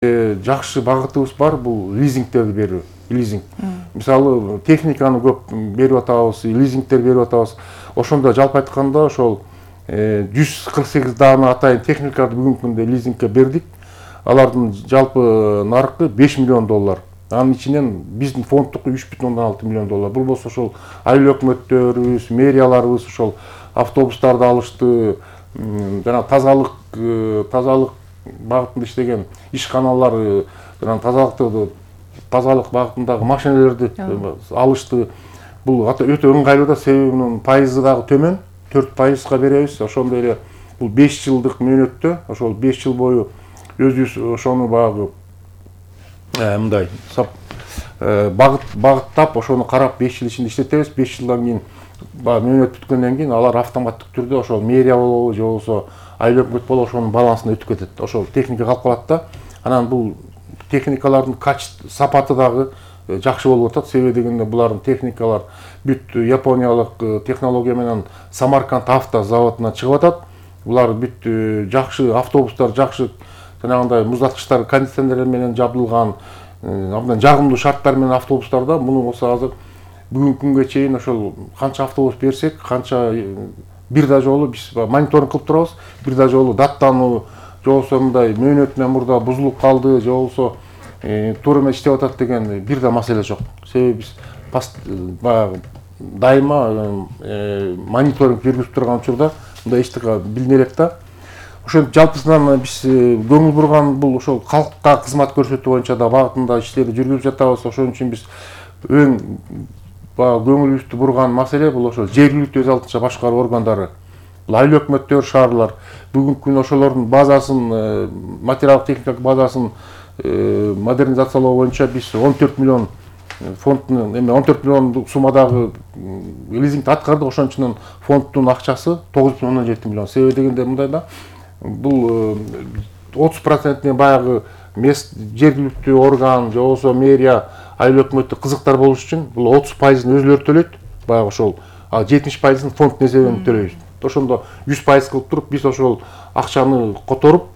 жакшы багытыбыз бар, бул лизингтерди берүү. Лизинг. Мисалы, техниканы көп берип атабыз, лизингтер берип атабыз. Ошондо жалпы айтканда ошол 148 даана атайын техникаларды бүгүнкү күндө лизингке бердик. Алардын жалпы наркы $5 миллион. Анын ичинен биздин фонддук $3,6 миллион. Бул болсо ошол айыл өкмөттөрүбүз, мэрияларыбыз ошол автобустарды алышты, жана тазалык багытында иштеген ишканалар, жана тазалык багытындагы машиналерди алышты. Бул өтө ыңгайлуу да, себеби мунун пайызы дагы төмөн, 4%га беребиз. Ошондой эле бул 5 жылдык мөөнөттө, ошол 5 жыл бою өзүбүз ошону багы мындай багыттап, ошону карап 5 жыл ичинде иштетебиз. 5 жылдан кийин мөөнөт бүткөндөн кийин алар автоматтык түрдө ошол мэрия болобу же болбосо айыл өкмөт болобу ошонун балансына өтүп кетет. Ошол техника калып калат да. Анан бул техникалардын сапаты дагы жакшы болуп атат. Себеби дегенде булардын техникалар бүт япониялык технология менен Самарканд авто заводунан чыгып атат. Булар бүт жакшы автобустар, жакшы жанагындай муздаткычтар, кондиционерлер менен жабдылган, абдан жагымдуу шарттар менен автобустарда. Муну болсо азыр бүгүнкү күнгө чейин ошол канча автобус берсек, канча бир да жолу биз мониторинг кылып турабыз. Бир да жолу даттануу, же болбосо мындай мөөнөтүнөн мурда бузулуп калды, же болбосо туура эмес иштеп атат деген бир да маселе жок. Себеби биз дайыма мониторинг жүргүзүп турган учурда мындай эчтеке билине элек да. Ошентип жалпысынан биз көңүл бурган бул ошол калкка кызмат көрсөтүү боюнча да багытында иштерди жүргүзүп жатабыз. Ошон үчүн биз эң көңүлүбүздү бурган маселе бул ошол жергиликтүү өз алдынча башкаруу органдары, бул айыл өкмөттөр, шаарлар. Бүгүнкү күндө ошолордун базасын, материалдык техникалык базасын модернизациялоо боюнча биз 14 миллион фондтун 14 миллион суммадагы лизингди аткардык. Ошон үчүн фонддун акчасы 9,17 миллион. Себеби дегенде мындай да, бул 30% баягы жергиликтүү орган, же болбосо мэрия, айыл өкмөттү кызыктар болуш үчүн бул 30%ын өзүлөрү төлөйт. Баягы ошол 70%ын фонддун эсебинен төлөйбүз. Ошондо 100% кылып туруп биз ошол акчаны которуп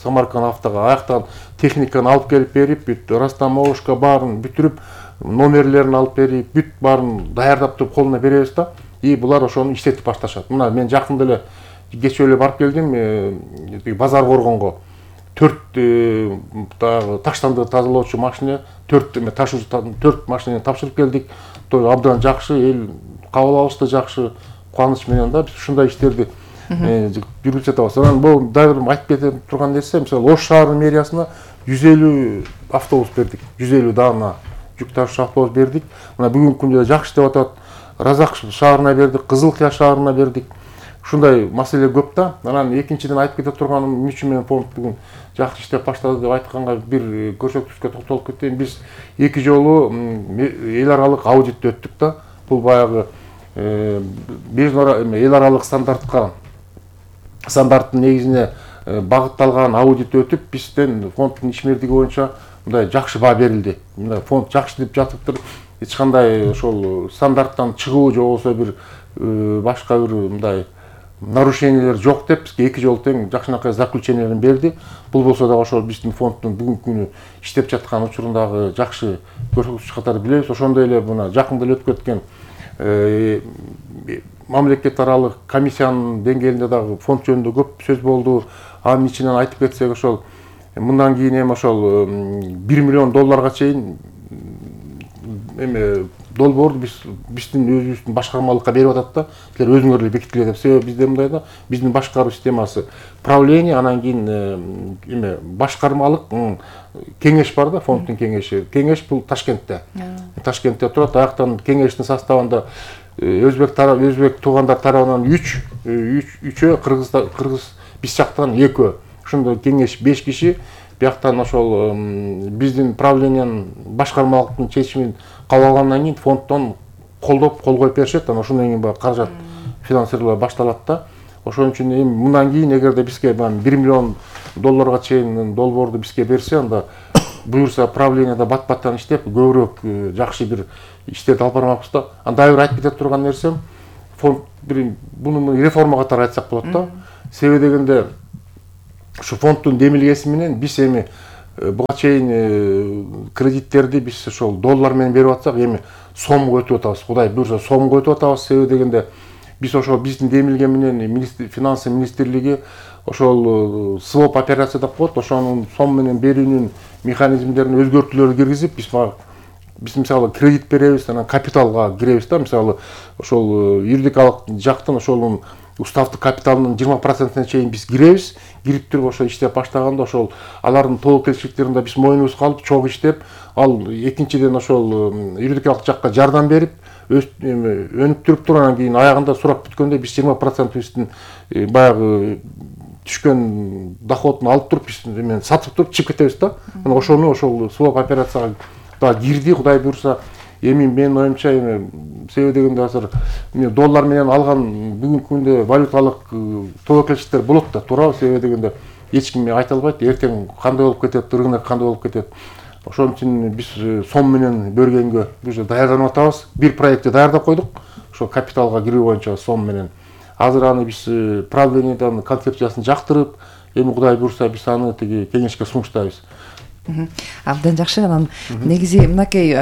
Самарканд автога аяктан техниканы алып келип берип, бүт растамовка баарын бүтүрүп, номерлерин алып берип, бүт баарын даярдап туруп колуна беребиз да. И булар ошону иштетип башташат. Мына мен жакында эле кечээ эле барып келдим, базар коргонго. 4 таштанды тазалоочу машина, 4 машинаны тапшырып келдик. Абдан жакшы, эл кабыл алышты, жакшы кубаныч менен да биз ушундай иштерди жүргүзүп жатабыз. Анан бул дагы бир айтып кете турган нерсе, мисалы Ош шаарынын мэриясына 150 автобус бердик, 150 даана жүк ташуучу автобус бердик. Мына бүгүнкү күндө жакшы деп атат. Разак шаарына бердик, Кызылкыя шаарына бердик. Ушундай маселе көп да. Анан экинчиден айтып кете турганым, эмне үчүн мен фонд бүгүн жакшы иштеп баштады деп айтканга бир көрсөткүчкө токтолуп кетейин. Биз 2 жолу эл аралык аудит өттүк да. Бул баягы эл аралык стандарттын негизине багытталган аудит өтүп, бизден фонддун ишмердиги боюнча мындай жакшы баа берилди. Мындай фонд жакшы деп жатыптыр. Эч кандай ошол стандарттан чыгуу же болбосо бир башка бир мындай нарушениялер жок деп бизге 2 жолу тең жакшынакай заключенияларын берди. Бул болсо дагы ошол биздин фонддун бүгүнкү күнү иштеп жаткан учурундагы жакшы көрсөткүч катары билебиз. Ошондой эле мына жакында эле өтүп кеткен мамлекет аралык комиссиянын деңгээлинде дагы фонд жөнүндө көп сөз болду. Анын ичинен айтып кетсек, ошол мындан кийин эми ошол $1 миллион чейин долбоорду биздин өзүбүздүн башкармалыкка берип атат да. Силер өзүңөр эле бекиткиле деп. Себеби бизде мындай да, биздин башкаруу системасы правление, анан кийин башкармалык кеңеш бар да, фонддун кеңеши. Кеңеш бул Ташкентте. Ташкентте турат. Аяктан кеңештин составында өзбек туугандар тарабынан 3, кыргыз биз жактан 2. Ошондой кеңеш 5 киши. Бияктан ошол биздин правлениянын башкармалыктын чечимин кабыл алгандан кийин фонддон колдоп кол коюп беришет. Анан ошондон кийин каражат финансирование башталат да. Ошон үчүн эми мындан кийин эгерде бизге $1 миллион чейин долбоорду бизге берсе, анда буюрса правленияда бат-баттан иштеп, көбүрөөк жакшы бир иштерди алып бармакпыз да. Анда бир айтып кете турган нерсем, фонд буну реформа катары айтсак болот да. Себеби дегенде ушу фонддун демилгеси менен биз эми буга чейин кредиттерди биз ошол доллар менен берип атсак, эми сомго өтүп атабыз. Кудай буйрса сомго өтүп атабыз. Себеби дегенде биз ошол биздин демилген менен финансы министрлиги ошол своп операция деп коет, ошонун сом менен берүүнүн механизмдерин өзгөртүүлөрдү киргизип, биз мисалы кредит беребиз, анан капиталга киребиз да, мисалы ошол юридикалык жактан ошонун уставдык капиталынын 20%-на чейин биз киребиз. Кирип туруп ошо иштеп баштаганда ошол алардын тобокелчиликтерин да биз мойнубузга алып, чогуу иштеп, ал экинчиден ошол юридикалык жакка жардам берип, өнүп туруп туруп, анан кийин аягында сурак бүткөндө биз 20%-ибиздин баягы түшкөн доходун алып туруп, биз эмен сатып туруп чыгып кетебиз да. Анан ошону ошол своп операцияга да кирди, Кудай буйрса. Эми менин оюмча себеби дегенде азыр доллар менен алган бүгүнкү күндө валюталык тобокелчиликтер болот да, туурабы? Себеби дегенде эч ким айта албайт, эртең кандай болуп кетет, рынок кандай болуп кетет. Ошон үчүн биз сом менен бергенге уже даярданып атабыз. Бир проектти даярдап койдук, ошо капиталга кирүү боюнча сом менен. Азыр аны биз правленияден концепциясын жактырып, эми Кудай буйрса биз аны тиги кеңешке сунуштайбыз. Абдан жакшы. Анан негизи мынакей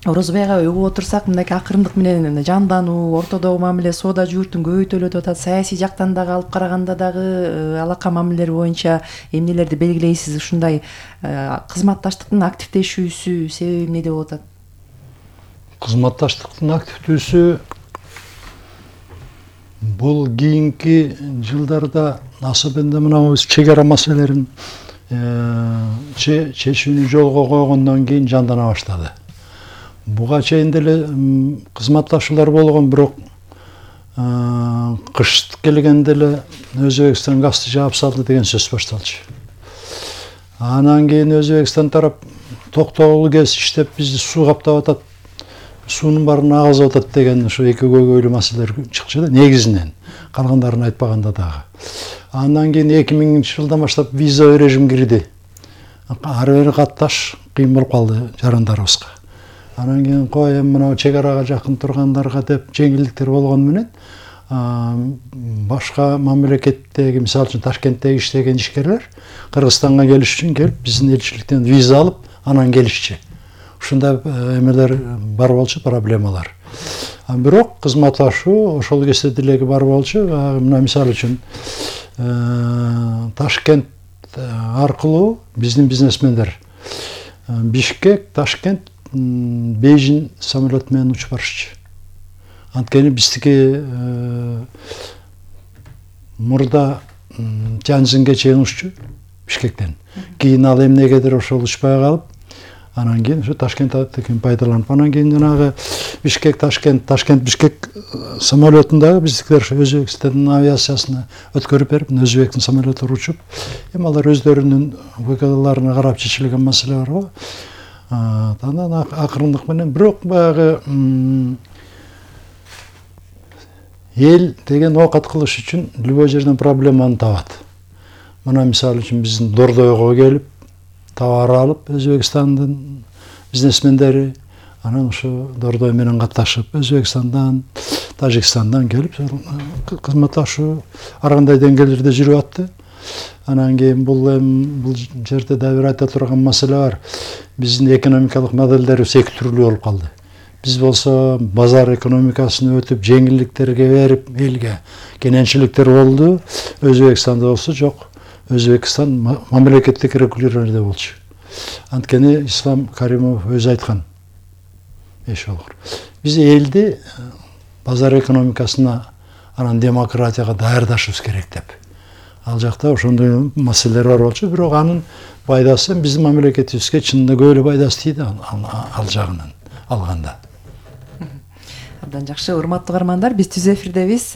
Орозбайга угуп отурсак, мынакей акырындык менен жандануу, ортодогу мамиле соода жууртун көбөйтүлүп атат. Саясий жактан дагы алып караганда дагы алака мамилелер боюнча эмнелерди белгилейсиз? Ушундай кызматташтыктын активдешүүсү себеби эмнеде болуп атат? Кызматташтыктын активдүүсү бул кийинки жылдарда особенно мына чек ара маселелерин чечүүнү жолго койгондон кийин жандана баштады. Буга чейин деле кызматташуулар болгон, бирок кыш келгенде эле Өзбекстан газды жаап салды деген сөз башталчу. Анан кийин Өзбекстан тарап токтогулу кез иштеп бизди суу каптап атат, суунун баарын агызып атат деген ошо эки көйгөйлүү маселелер чыкчу да, негизинен, калгандарын айтпаганда дагы. Андан кийин 2000 жылдан баштап виза режим кирди. Ары бери катташ кыйын болуп калды жарандарыбызга. Анан кийин кой мына чек арага жакын тургандарга деп жеңилдиктер болгону менен башка мамлекеттеги, мисалы үчүн Ташкенттеги иштеген ишкерлер Кыргызстанга келиш үчүн келип, биздин элчиликтен виза алып, анан келишчи. Ушундай эмелер бар болчу, проблемалар. Бирок кызматташуу ошол кезде делеги бар болчу. Мына мисалы үчүн Ташкент аркылуу биздин бизнесмендер Бишкек, Ташкент, Бейжин самолет менен учуп барышчы. Анткени биздики мурда Тяньцзинге чейин уччу Бишкектен. Кийин ал эмнегедир ошол учпай калып, анан кийин ушу Ташкенттен пайдаланып, анан кийин жанагы Бишкек, Ташкент, Бишкек самолетундагы биздикилер Өзбекстандын авиациясына өткөрүп берип, Өзбектин самолеттери учуп, эми алар өздөрүнүн выгодаларына карап чечилген маселе бар го. Анан акырындык менен, бирок баягы эл деген оокат кылыш үчүн любой жерден проблеманы табат. Мына мисалы үчүн биздин Дордойго келип, товар алып, Өзбекстандын бизнесмендери, анан ушу Дордой менен катташып, Өзбекстандан, Тажикстандан келип, кызматташуу ар кандай деңгээлдерде жүрүп атты. Анан кийин бул жерде да бир айта турган маселе бар. Биздин экономикалык моделдерибиз эки түрлүү болуп калды. Биз болсо базар экономикасын өтүп, жеңилдиктерге берип, элге кененчиликтер болду. Өзбекстанда болсо жок. Өзбекстан мамлекеттик регулированиеде болчу. Анткени Ислам Каримов өзү айткан. Биз элди базар экономикасына, анан демократияга даярдашыбыз керек деп. Ал жакта ошондой маселелер бар болчу, бирок анын пайдасы биздин мамлекетибизге чынында көп эле пайдасы тийди ал жагынан алганда. Абдан жакшы. Урматтуу угармандар, биз түз эфирдебиз.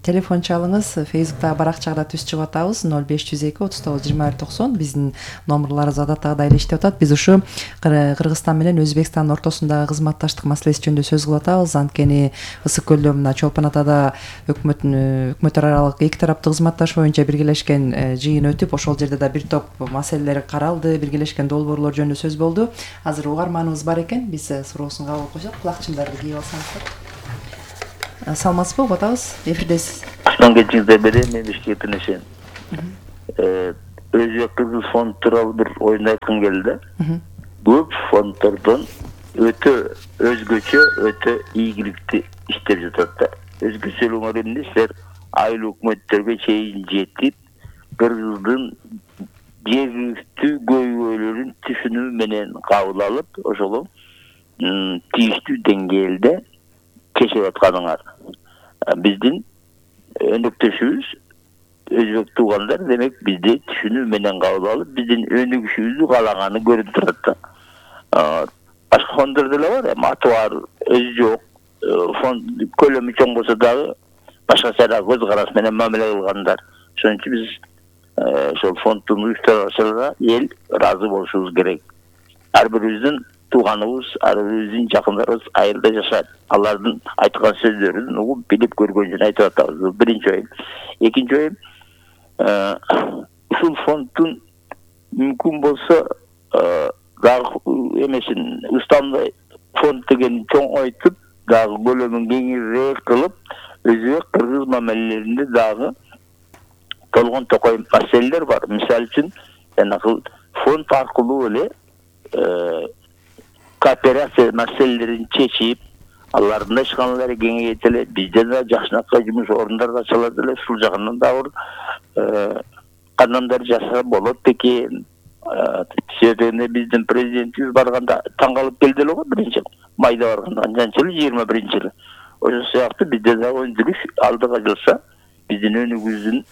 Телефон чалыңыз, Facebook'та баракчада түз чыгып атабыз. 0502 39 21 90. Биздин номерларыбыз адаттагыдай эле иштеп атат. Биз ушу Кыргызстан менен Өзбекстандын ортосундагы кызматташтык маселеси жөнүндө сөз кылып атабыз. Анткени Ысык көлдө мына Чолпон Атада өкмөттөр аралык эки тараптуу кызматташуу боюнча биргелешкен жыйын өтүп, ошол жерде да бир топ маселелер каралды, биргелешкен долбоорлор жөнүндө сөз болду. Азыр угарманыбыз бар экен. Биз суроосун кабыл алып койсок, кулакчындарды кийип алсаңыздар. Саламатсызбы, угуп атабыз, эфирдесиз. Куштан кечиңиздер бери, мен Бишкектен эшен. өзбек кыргыз фонд тууралуу бир оюн айткым келди. Көп фонддордон өтө өзгөчө, өтө ийгиликтүү иштеп жатат да. Өзгөчөлүгүңөр эмне? Силер айыл өкмөттөргө чейин жетип, кыргыздын жергиликтүү көйгөйлөрүн түшүнүү менен кабыл алып, ошол тийиштүү деңгээлде кечип атканыңар. Биздин өнөктөшүбүз өзбек туугандар, демек бизди түшүнүү менен кабыл алып, биздин өнүгүшүбүздү каалаганы көрүнүп турат да. Башка фонддор деле бар, эми аты бар, өзү жок. Фонд көлөмү чоң болсо дагы башкача көз карасы менен мамиле кылгандар. Ошон үчүн биз ошол фонддун уюштуруучуларына эл ыраазы болушубуз керек. Ар бирибиздин тууганыбыз, ар бирибиздин жакындарыбыз айылда жашайт. Алардын айткан сөздөрүн угуп, билип көргөн үчүн айтып атабыз. Бул биринчи оюм. Экинчи оюм, ушул фонддун мүмкүн болсо дагы эмесин устамдай фонд деген чоң айтып, дагы көлөмүн кеңирээк кылып, өзбек кыргыз мамилелеринде дагы толгон токой маселелер бар. Мисалы үчүн, жанагы фонд аркылуу эле кооперация маселелерин чечип, алардын ишканалары кеңейет эле, бизде да жакшынакай жумуш орундары ачылат эле, ушул жагынан дагы кандайдыр жасаса болот экен. Себеби биздин президентибиз барганда таң калып келди эле го, биринчи майда барганда, анчанчы эле 21-жылы. Ошол сыяктуу бизде дагы өндүрүш алдыга жылса, биздин өнүгүүбүздүн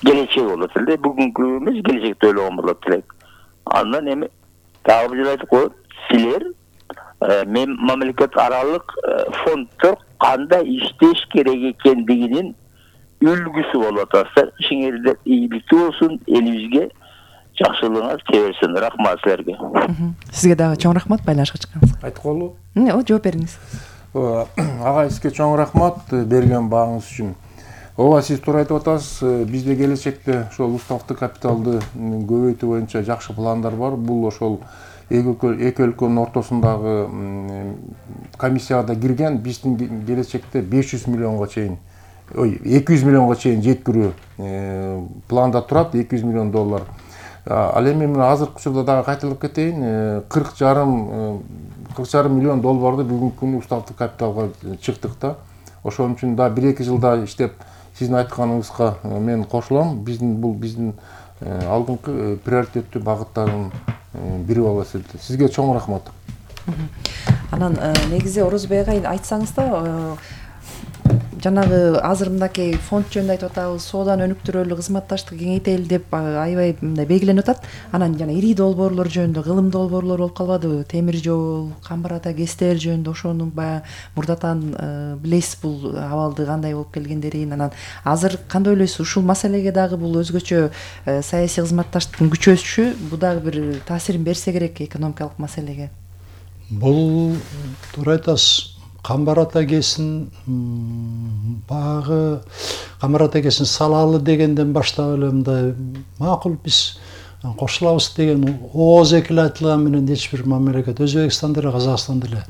келечеги болот эле, бүгүнкү эмес, келечекте ойлогон болот элек. Андан эми дагы бир айтып коет, силер мамлекет аралык фонддор кандай иштеш керек экендигинин үлгүсү болуп атасыздар. Ишиңердер ийгиликтүү болсун, элибизге жакшылыгыңар теберсин. Рахмат силерге. Сизге дагы чоң рахмат байланышка чыкканыңызга. Айтколу. Жооп бериңиз. Ага, сизге чоң рахмат берген багыңыз үчүн. Ооба, сиз туура айтып атасыз. Бизде келечекте ошол уставдык капиталды көбөйтүү боюнча жакшы пландар бар. Бул ошол эки өлкөнүн ортосундагы комиссияга кирген, биздин келечекте 500 миллионго чейин, 200 миллионго чейин жеткирүү планда турат, $200 миллион. Ал эми азыркы учурда дагы кайталап кетейин, $40,5 миллион бүгүнкү күнү уставдык капиталга чыктык да. Ошон үчүн да 1-2 жылда иштеп, сиздин айтканыңызга мен кошулам. Бул биздин алдыңкы приоритеттүү багыттардын бири болуп эсептелет. Сизге чоң рахмат. Анан негизи Орозбек агай айтсаңыз да, жанагы азыр мындай фонд жөнүндө айтып атабыз, сооданы өнүктүрөлү, кызматташтыкты кеңейтели деп аябай мындай белгиленип атат. Анан жана ири долбоорлор жөнүндө, кылым долбоорлор болуп калбадыбы? Темир жол, Камбар ата ГЭСтер жөнүндө ошону баягы мурдатан билесиз бул абалды кандай болуп келгендерин. Анан азыр кандай ойлойсуз? Ушул маселеге дагы бул өзгөчө саясий кызматташтыктын күчөшүшү бул дагы бир таасирин берсе керек экономикалык маселеге. Бул туура айтасыз. Камбар ата ГЭСин багы Камбар ата ГЭСин салалы дегенден баштап эле мындай макул биз кошулабыз деген ооз экил айтылган менен эч бир мамлекет, Өзбекстан деле, Казакстан деле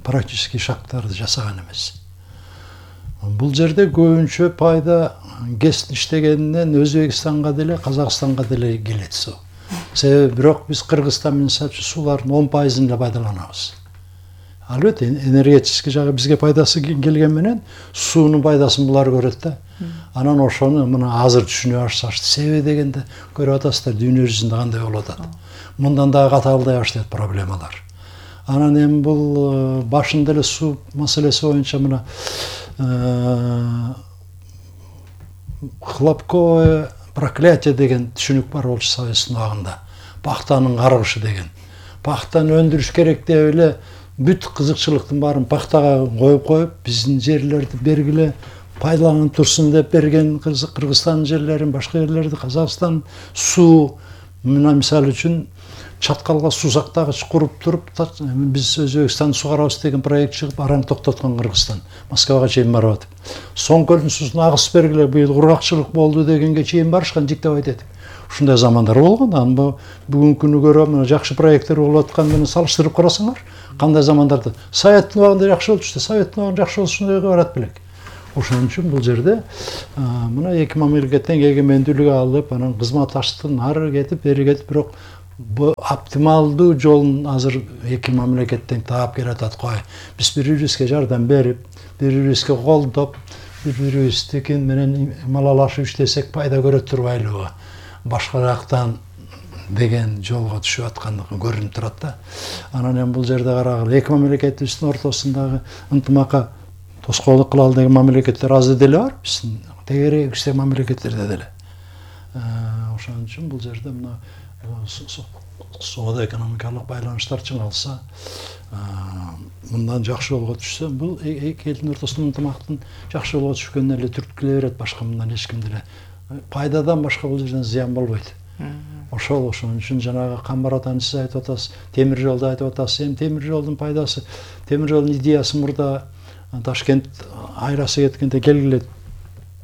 практически шагттарды жасаган эмес. Бул жерде көбүнчө пайда ГЭС иштегенинен Өзбекстанга деле, Казакстанга деле келет. Себеби бирок биз Кыргызстан менен сулардын 10%-ын эле пайдаланабыз. Албетте энергетический жагы бизге пайдасы келген менен суунун пайдасын булар көрөт да. Анан ошону мына азыр түшүнө башташты. Себеби дегенде көрүп атасыздар, дүйнө жүзүндө кандай болуп атат. Мындан дагы катаалдай баштайт проблемалар. Анан эми бул башында эле суу маселеси боюнча мына хлопковое проклятие деген түшүнүк бар болчу Советтин убагында. Пахтанын каргышы деген. Пахтаны өндүрүш керек деп эле бүт кызыкчылыктын баарын пахтага коюп, биздин жерлерди бергиле, пайдаланып турсун деп берген Кыргызстандын жерлерин, башка жерлерди, Казакстан суу, мына мисалы үчүн Чаткалга суу сактагыч куруп туруп, биз Өзбекстанды сугарабыз деген проект чыгып, араң токтоткон Кыргызстан, Москвага чейин барып атып. Соң көлдүн суусун агыс бергиле, быйыл кургакчылык болду дегенге чейин барышкан, жиктеп айтат. Ушундай замандар болгон. Анан бүгүнкү күнү көрөм, жакшы проекттер болуп аткан менен салыштырып карасаңар, кандай замандарда Советтин убагында жакшы болчу, Советтин убагында жакшы болуш ушундайга барат белек. Ошон үчүн бул жерде мына эки мамлекеттен эгемендүүлүк алып, анан кызматташтыктын ары кетип, бери кетип, бирок bu optimalдуу жолун азыр эки мамлекеттен таап келатат кой. Биз бири-бирибизге жардам берип, бири-бирибизге колдоп, бири-бирибиздики менен малалашып иштесек пайда көрөт турбайлыбы? Башка жактан деген жолго түшүп аткандыгы көрүнүп турат да. Анан эми бул жерде карагыла, эки мамлекетибиздин ортосундагы ынтымакка тоскоолдук кыла алган мамлекеттер аз деле бар, биздин тегерегибиздеги мамлекеттерде деле. Ошон үчүн бул жерде мына соода экономикалык байланыштар чыңалса, мындан жакшы жолго түшсө, бул эки элдин ортосундагы ынтымактын жакшы жолго түшкөнүнө эле түрткүлө берет, башка мындан эч ким деле пайдадан башка бул жерден зыян болбойт. Ошол үчүн жанагы Камбар атаны сиз айтып атасыз, темир жолду айтып атасыз. Эми темир жолдун пайдасы, темир жолдун идеясы мурда Ташкент айрасы кеткенде келгиле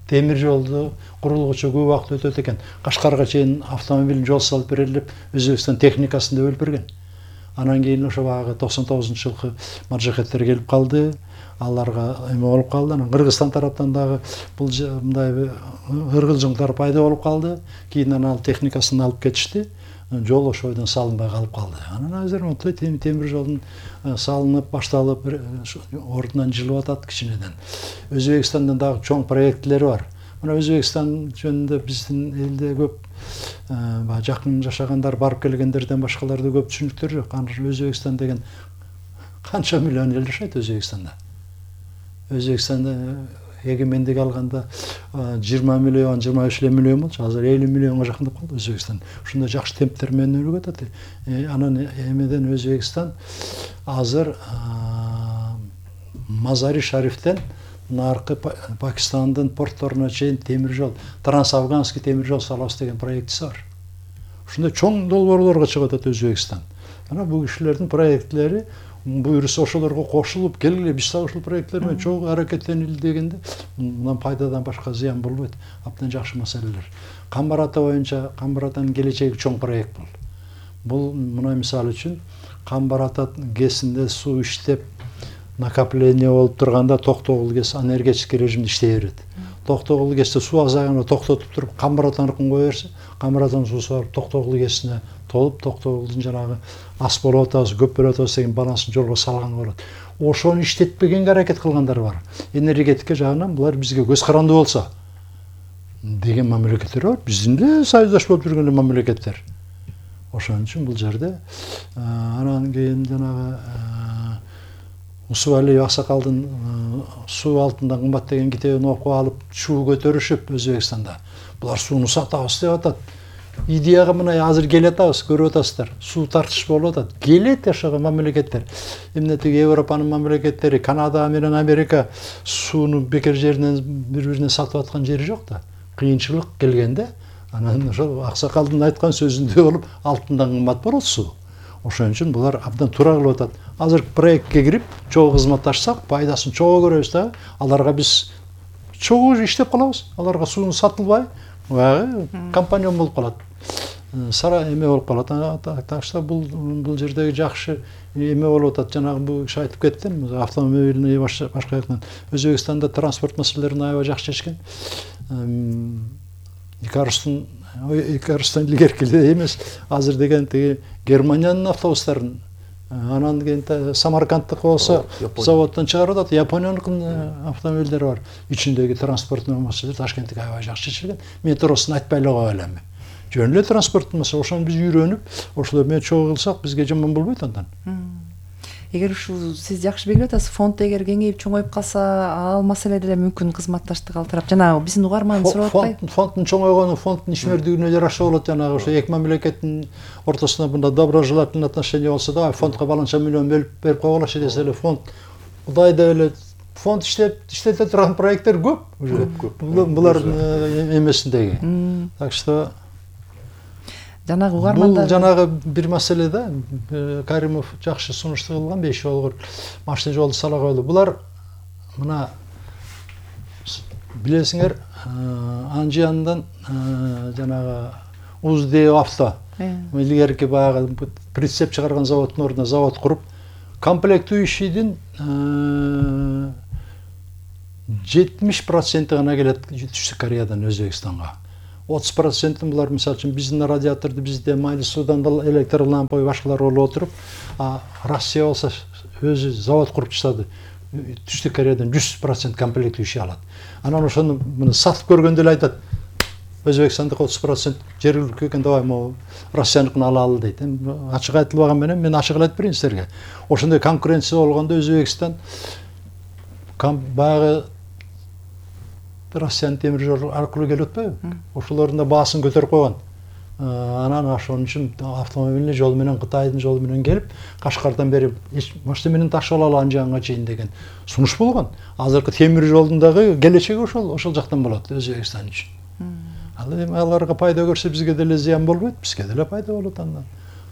темир жолду курулгучу көп убакыт өтөт экен. Кашкарга чейин автомобиль жол салып берели деп Өзбекстан техникасын да бөлүп берген. Анан кийин ошо багы 99-жылкы маджахеттер келип калды. Аларга эме болуп калды. Анан Кыргызстан тараптан дагы бул мындай ыргылжыңдар пайда болуп калды. Кийин анан техникасын алып кетишти. Жол ошойдон салынбай калып калды. Анан азыр монтуй темир жолдун салынып, башталып, ордунан жылып атат кичинеден. Өзбекстандан дагы чоң проектлери бар. Мына Өзбекстан жөнүндө биздин элде көп жакын жашагандар, барып келгендерден башкаларда көп түшүнүктөр жок. Анан Өзбекстан деген канча миллион эл жашайт Өзбекстанда. Өзбекстанда эгемендик алганда 20 миллион, 25 миллион болчу, азыр 50 миллионго жакындап калды Өзбекстан. Ушундай жакшы темптер менен өрүп атат. Анан эмеден Өзбекстан азыр Мазари Шарифтен наркы Пакистандын портторуна чейин темир жол, трансафганский темир жол салабыз деген проектиси бар. Ушундай чоң долбоорлорго чыгып атат Өзбекстан. Анан бул кишилердин проектлери буюрса ошолорго кошулуп келгиле, биз да ушул проекттер менен чоң аракеттенели дегенде мындан пайдадан башка зыян болбойт. Абдан жакшы маселелер. Камбар ата боюнча Камбар атанын келечеги чоң проект бул. Бул мына мисалы үчүн Камбар ата ГЭСинде суу иштеп накопление болуп турганда Токтогул ГЭС энергетический режимде иштей берет. Токтогул ГЭСте суу азайганда токтотуп туруп Камбар атаныкын кое берсе, Камбар атанын суусу барып Токтогул ГЭСине толуп, Токтогулдун жанагы ас болуп атабыз, көп болуп атабыз деген балансын жолго салган болот. Ошону иштетпегенге аракет кылгандар бар. Энергетика жагынан булар бизге көз карандуу болсо деген мамлекеттер бар. Биздин да союздаш болуп жүргөн мамлекеттер. Ошон үчүн бул жерде анан кийин жанагы Усубалиев Аксакалдын суу алтында кымбат деген китебин окуп алып, чуу көтөрүшүп Өзбекстанда. Булар сууну сатабыз деп атат. Идеяга мына азыр келип атабыз, көрүп атасыздар. Суу тартыш болуп атат. Келет ошого мамлекеттер. Эмне тиги Европанын мамлекеттери, Канада менен Америка сууну бекер жеринен бири-бирине сатып аткан жери жок да. Кыйынчылык келгенде анан ошол Аксакалдын айткан сөзүндөй болуп, алтындан кымбат болот суу. Ошон үчүн булар абдан туура кылып атат. Азыр проектке кирип, чогуу кызматташсак, пайдасын чогуу көрөбүз да. Аларга биз чогуу иштеп калабыз. Аларга сууну сатылбай, компаньон болуп калат. Сара эме болуп калат. Так что бул жердеги жакшы эме болуп атат. Жанагы бул киши айтып кетти, автомобильный башка жактан. Өзбекстанда транспорт маселелерин аябай жакшы чечкен. Икарустан илгеркиле эмес. Азыр деген тиги Германиянын автобустарын, анан кийин Самаркандтык болсо заводдон чыгарып атат. Япониянын автомобилдери бар. Ичиндеги транспорттун маселелери Ташкенттики аябай жакшы чечилген. Метросун айтпай эле кое элем. Жөн эле транспорттун маселе. Ошону биз үйрөнүп, ошолор менен чогуу кылсак, бизге жаман болбойт андан. Эгер ушул сиз жакшы белгилеп атасыз, фонд эгер кеңейип чоңоюп калса, ал маселе деле мүмкүн кызматташтык алып жанагы биздин угарман сурап атпайбы? Фонддун чоңойгону фонддун ишмердүүлүгүнө жараша болот. Жанагы ошо эки мамлекеттин ортосунда мында доброжелательный отношение болсо да, фондко баланча миллион берип койгулачы десе эле фонд Кудай деп эле фонд иштете турган проекттер көп. Булар эмесиндеги. Так что жанагы угармандар бул жанагы бир маселе да. Каримов жакшы сунушту кылган 5 жолгор машина жолду сала койду. Булар мына билесиңер, Анжияндан жанагы Узде авто илгерки баягы прицеп чыгарган заводдун ордуна завод куруп, комплектующийдин 70% гана келет Түштүк Кореядан Өзбекстанга. 30% булар мисалы үчүн биздин радиаторду бизде майлы суудан электр лампа башкалар болуп отуруп, Россия болсо өзү завод куруп чыгады. Түштүк Кореядан 100% комплект иши алат. Анан ошону муну сатып көргөндө эле айтат. Өзбекстандык 30% жергиликтүү экен, давай могу Россияныкын алалы дейт. Ачык айтылбаган менен мен ачык айтып берейин силерге. Ошондой конкуренция болгондо Өзбекстан баягы Россиянын темир жол аркылуу келип атпайбы? Ошолордун да баасын көтөрүп койгон. Анан ошон үчүн автомобильный жол менен Кытайдын жолу менен келип, Кашкардан бери машина менен ташып алалы Анжанга чейин деген сунуш болгон. Азыркы темир жолдун дагы келечеги ошол жактан болот Өзбекстан үчүн. Ал эми аларга пайда көрсө бизге деле зыян болбойт, бизге деле пайда болот андан.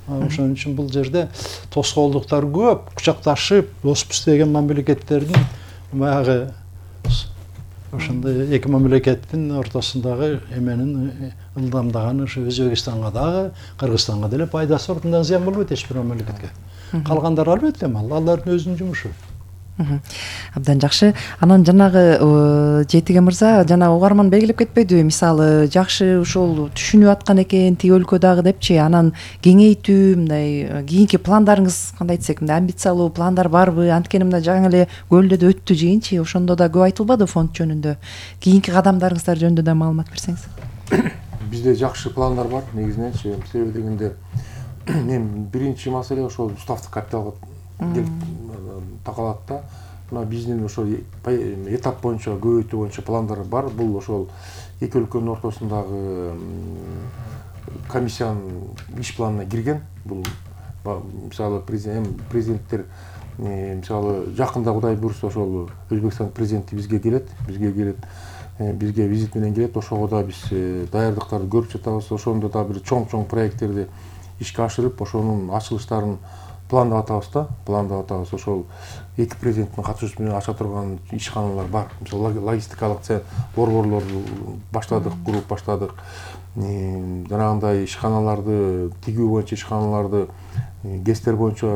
Ошон үчүн бул жерде тоскоолдуктар көп, кучакташып, доспуз деген мамлекеттердин баягы ошондой эки мамлекеттин ортосундагы эменин ылдамдаганы ушу Өзбекстанга дагы, Кыргызстанга деле пайдасы бар, мындан зыян болбойт эч бир мамлекетке. Калгандар албетте алардын өзүнүн жумушу. Абдан жакшы. Анан жанагы Жетиге мырза жана угарман белгилеп кетпедиби? Мисалы, жакшы ушул түшүнүп аткан экен тиги өлкө дагы депчи. Анан кеңейтүү, мындай кийинки пландарыңыз кандай десек, мындай амбициялуу пландар барбы? Анткени мына жаңы эле Көлдөдө өттү жыйынчы, ошондо да көп айтылбады фонд жөнүндө. Кийинки кадамдарыңыздар жөнүндө да маалымат берсеңиз. Бизде жакшы пландар бар негизиненчи. Себеби дегенде мен биринчи маселе ошол уставдык капиталга такалат да. Мына биздин ошол этап боюнча көбөйтүү боюнча пландар бар. Бул ошол эки өлкөнүн ортосундагы комиссиянын иш планына кирген. Бул мисалы президенттер мисалы жакында Кудай буйрса ошол Өзбекстан президенти бизге келет, бизге визит менен келет. Ошого да биз даярдыктарды көрүп жатабыз. Ошондо да бир чоң проекттерди ишке ашырып, ошонун ачылыштарын пландап атабыз. Ошол эки президенттин катышуусу менен ача турган ишканалар бар. Мисалы логистикалык борборлорду баштадык, куруп баштадык. Жанагындай ишканаларды, тигүү боюнча ишканаларды, ГЭСтер боюнча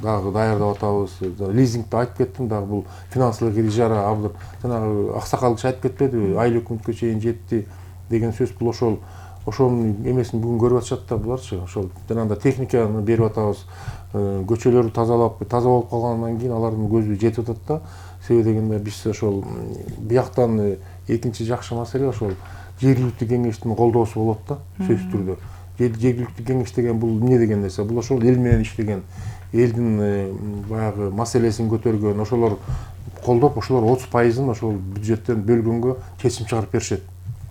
дагы даярдап атабыз. Лизингди айтып кеттим, дагы бул финансылык ижара абдыр. Жанагы аксакал киши айтып кетпедиби? Айлык өкмөткө чейин жетти деген сөз. Бул ошонун эмесин бүгүн көрүп атышат да буларчы. Ошол жанагындай техниканы берип атабыз. Көчөлөрдү таза болуп калгандан кийин алардын көзү жетип атат да. Себеби дегенде биз ошол бияктан экинчи жакшы маселе ошол жергиликтүү кеңештин колдоосу болот да, сөзсүз түрдө. Жергиликтүү кеңеш деген бул эмне деген нерсе? Бул ошол эл менен иштеген, элдин баягы маселесин көтөргөн, ошолор колдоп, ошолор 30%-ын ошол бюджеттен бөлгөнгө чечим чыгарып беришет.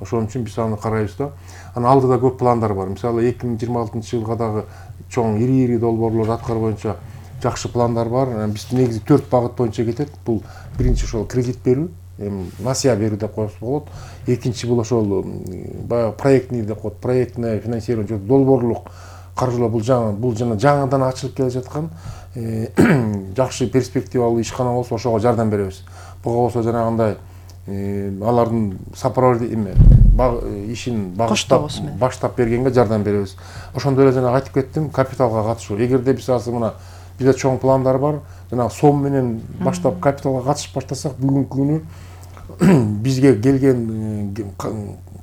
Ошон үчүн биз аны карайбыз да. Анан алдыда көп пландар бар. Мисалы 2026-жылга дагы чоң ири долбоорлор аткаруу боюнча жакшы пландар бар. Биз негизи 4 багыт боюнча кетет. Бул биринчи ошол кредит берүү, насыя берүү деп коюш болот. Экинчи бул ошол баягы проектный деп коет, проектное финансирование, долбоорлук каржылоо. Бул жана жаңыдан ачылып келе жаткан жакшы перспективалуу ишкана болсо ошого жардам беребиз. Буга болсо жанагындай алардын ишин баштап бергенге жардам беребиз. Ошондой эле жана айтып кеттим, капиталга катышуу. Эгерде биз азыр мына бизде чоң пландар бар, жана сом менен баштап капиталга катышып баштасак, бүгүнкү күнү бизге келген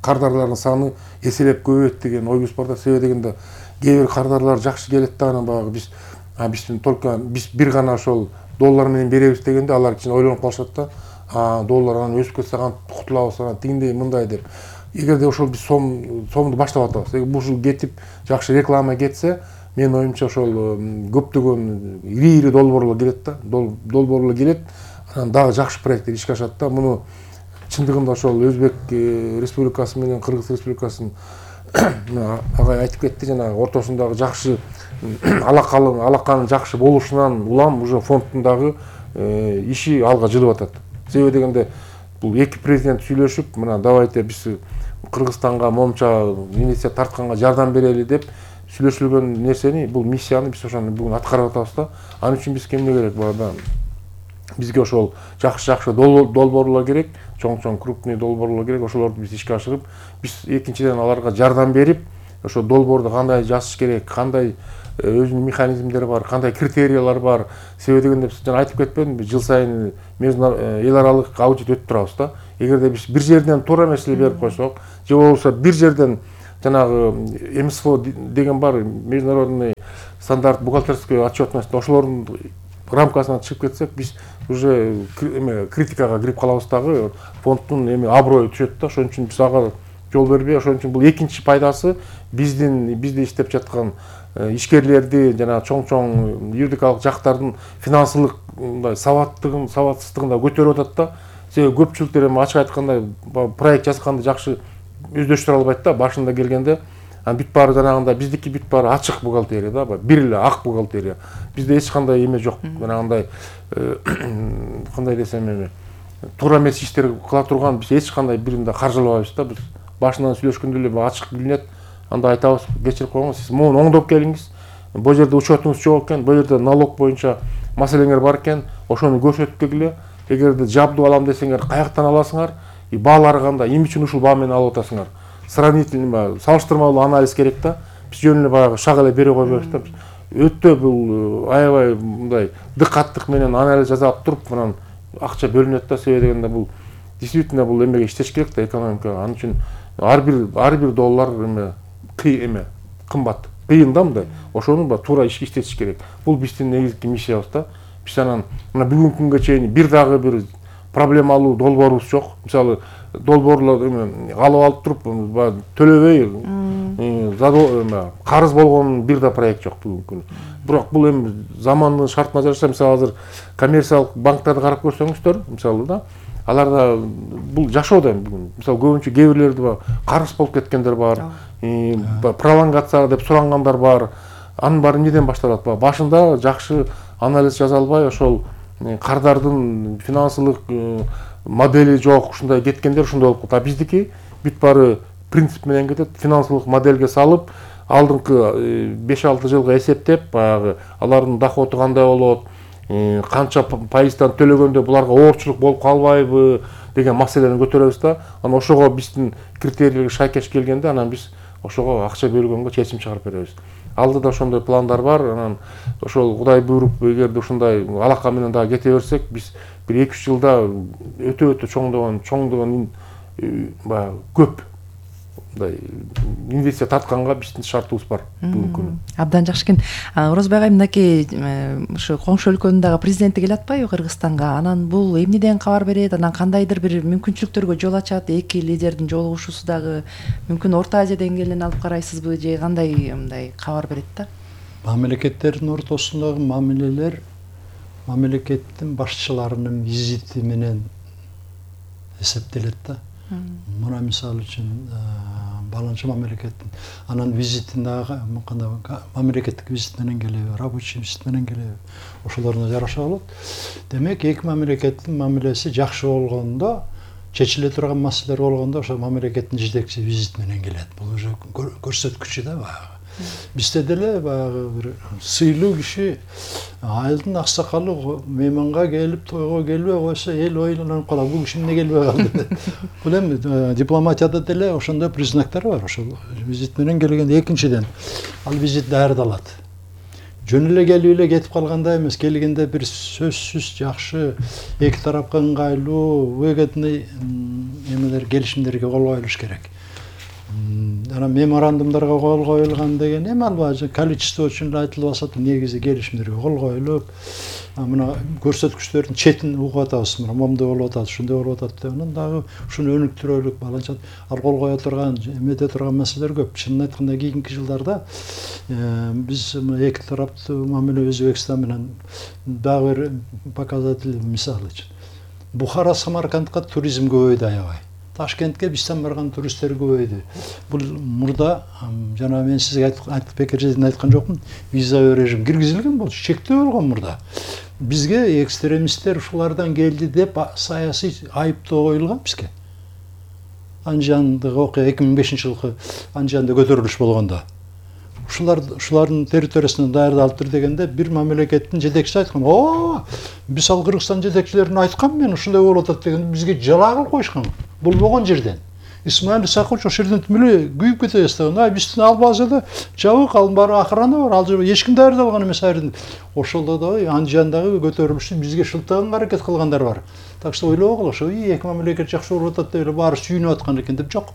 кардарлардын саны эселеп көбөйөт деген оюбуз бар да. Себеби дегенде кээ бир кардарлар жакшы келет да, анан баягы биз бир гана ошол доллар менен беребиз дегенде алар кичине ойлонуп калышат да. Доллар анан өсүп кетсе кутулабыз, анан тигиндей мындай деп. Эгерде ошол биз сомду баштап атабыз. Бул кетип жакшы реклама кетсе, менин оюмча ошол көптөгөн ири долбоорлор келет да. Долбоорлор келет, анан дагы жакшы проекттер ишке ашат да. Муну чындыгында ошол Өзбек Республикасы менен Кыргыз Республикасынын агай айтып кетти, жанагы ортосундагы жакшы алаканын жакшы болушунан улам уже фонддун дагы иши алга жылып атат. Себеби дегенде бул эки президент сүйлөшүп, мына давайте биз Кыргызстанга момча инвестиция тартканга жардам берели деп сүйлөшүлгөн нерсени, бул миссияны биз ошону бүгүн аткарып атабыз да. Ал үчүн бизге эмне керек бул? Бизге ошол жакшы долбоорлор керек, чоң крупный долбоорлор керек. Ошолорду биз ишке ашырып, биз экинчиден аларга жардам берип, ошо долбоорду кандай жазыш керек, кандай өзүнүн механизмдери бар, кандай критериялар бар. Себеби дегенде биз жана айтып кетпедимби, жыл сайын эл аралык аудит өтүп турабыз да. Эгерде биз бир жерден туура эмес эле берип койсок, же болбосо бир жерден жанагы МСФО деген бар, международный стандарт бухгалтерской отчетность, ошолордун рамкасынан чыгып кетсек, биз уже критикага кирип калабыз дагы, фонддун аброю түшөт да. Ошон үчүн биз ага жол бербей, ошон үчүн бул экинчи пайдасы бизде иштеп жаткан ишкерлерди жана чоң юридикалык жактардын финансылык сабатсыздыгын да көтөрүп атат да. Себеби көпчүлүктөр ачык айтканда проект жазганды жакшы өздөштүрө албайт да. Башында келгенде бүт баары жанагындай биздики бүт баары ачык бухгалтерия да, бир эле ак бухгалтерия. Бизде эч кандай эме жок. Жанагындай кандай десем туура эмес иштер кыла турган биз эч кандай биринде каржылабайбыз да. Биз башынан сүйлөшкөндө эле ачык билинет. Анда айтабыз, кечирип койгоңуз, сиз муну оңдоп келиңиз. Бул жерде учетуңуз жок экен, бул жерде налог боюнча маселеңер бар экен, ошону көрсөтүп келгиле. Эгерде жабдуу алам десеңер, каяктан аласыңар? Баалары кандай? Эмне үчүн ушул баа менен алып атасыңар? Сравнительный, салыштырмалуу анализ керек да. Биз жөн эле баягы шаг эле бере койбойбуз да. Өтө бул аябай мындай дыкаттык менен анализ жасап туруп, анан акча бөлүнөт да. Себеби дегенде бул действительно бул эмеге иштеш керек да, экономикага. Анын үчүн ар бир доллар кымбат, кыйын да мындай. Ошону туура ишке иштетиш керек. Бул биздин негизги миссиябыз да. Биз анан мына бүгүнкү күнгө чейин бир дагы бир проблемалуу долбоорубуз жок. Мисалы долбоорлорду алып алып туруп төлөбөй карыз болгон бир да проект жок бүгүнкү күнү. Бирок бул эми замандын шартына жараша, мисалы азыр коммерциялык банктарды карап көрсөңүздөр, мисалы да, аларда бул жашоодо бүгүн. Мисалы көбүнчө кээ бирлерди карыз болуп кеткендер бар, пролонгация деп сурангандар бар. Анын баары эмнеден башталат? Башында жакшы анализ жаза албай, ошол кардардын финансылык модели жок, ушундай кеткендер ушундай болуп калат. Биздики бүт баары принцип менен кетет. Финансылык моделге салып, алдыңкы 5-6 жылга эсептеп, баягы алардын доходу кандай болот, канча пайыздан төлөгөндө буларга оорчулук болуп калбайбы деген маселени көтөрөбүз да. Анан ошого биздин критерийлерге шайкеш келгенде, анан биз ошого акча бөлгөнгө чечим чыгарып беребиз. Алдыда ошондой пландар бар. Анан ошол Кудай буйруп, эгерде ушундай алака менен дагы кете берсек, биз бир 2-3 жылда өтө чоңдогон баягы көп инвестиция тартканга биздин шартыбыз бар бүгүнкү күнү. Абдан жакшы экен. Орозбек айым, мынакей ушу коңшу өлкөнүн дагы президенти келип атпайбы Кыргызстанга? Анан бул эмнеден кабар берет? Анан кандайдыр бир мүмкүнчүлүктөргө жол ачат? Эки лидердин жолугушуусу дагы мүмкүн Орто Азия деңгээлинен алып карайсызбы, же кандай мындай кабар берет да? Мамлекеттердин ортосундагы мамилелер мамлекеттин башчыларынын визити менен эсептелет да. Мына мисалы үчүн баланча мамлекеттин анан визитин дагы кандай мамлекеттик визит менен келеби, рабочий визит менен келеби, ошолоруна жараша болот. Демек, эки мамлекеттин мамилеси жакшы болгондо, чечиле турган маселелер болгондо, ошо мамлекеттин жетекчиси визит менен келет. Бул уже көрсөткүчү да баягы. Бизде деле баягы бир сыйлуу киши айылдын аксакалы мейманга келип тойго келбей койсо, эл ойлонуп калат, бул киши эмне келбей калды. Бул эми дипломатияда деле ошондой признактар бар. Ошол визит менен келгенде, экинчиден ал визит даярдалат. Жөн эле келип эле кетип калгандай эмес, келгенде бир сөзсүз жакшы, эки тарапка ыңгайлуу, выгодный эмелер, келишимдерге кол коюлуш керек. Анан меморандумдарга кол коюлган деген эми албай, количество үчүн эле айтылып атат, негизи келишимдерге кол коюлуп, мына көрсөткүчтөрдүн четин угуп атабыз, мына момдой болуп атат, ушундай болуп атат деп, анан дагы ушуну өнүктүрөлүк, баланча ал кол кое турган, эмете турган маселелер көп. Чынын айтканда, кийинки жылдарда биз эки тараптуу мамиле Өзбекстан менен дагы бир показатель, мисалы үчүн Бухара Самаркандка туризм көбөйдү аябай. Ташкентке бизден барган туристтер көбөйдү. Бул мурда жана мен сизге бекер жерден айткан жокмун, виза режим киргизилген болчу, чектөө болгон мурда. Бизге экстремисттер ушулардан келди деп саясий айыптоо коюлган бизге. Анжандагы окуя 2005-жылкы Анжанда көтөрүлүш болгондо. Ушулардын территориясынан даярдалып тур дегенде бир мамлекеттин жетекчиси айткан: "О, биз ал Кыргызстан жетекчилерине айткам, мен ушундай болуп атат" деген, бизге жалаа кылып коюшкан. Болбогон жерден. Исмаил Исакович ошол жерден миле күйүп кете баштаган. Биздин ал базада жабык, ал баары охрана бар, ал жерде эч ким даярдалган эмес айрын. Ошолдо да андижандагы көтөрүлүштү бизге шылтаганга аракет кылгандар бар. Так что ойлогула, ошо эки мамлекет жакшы болуп атат деп эле баары сүйүнүп аткан экен деп жок.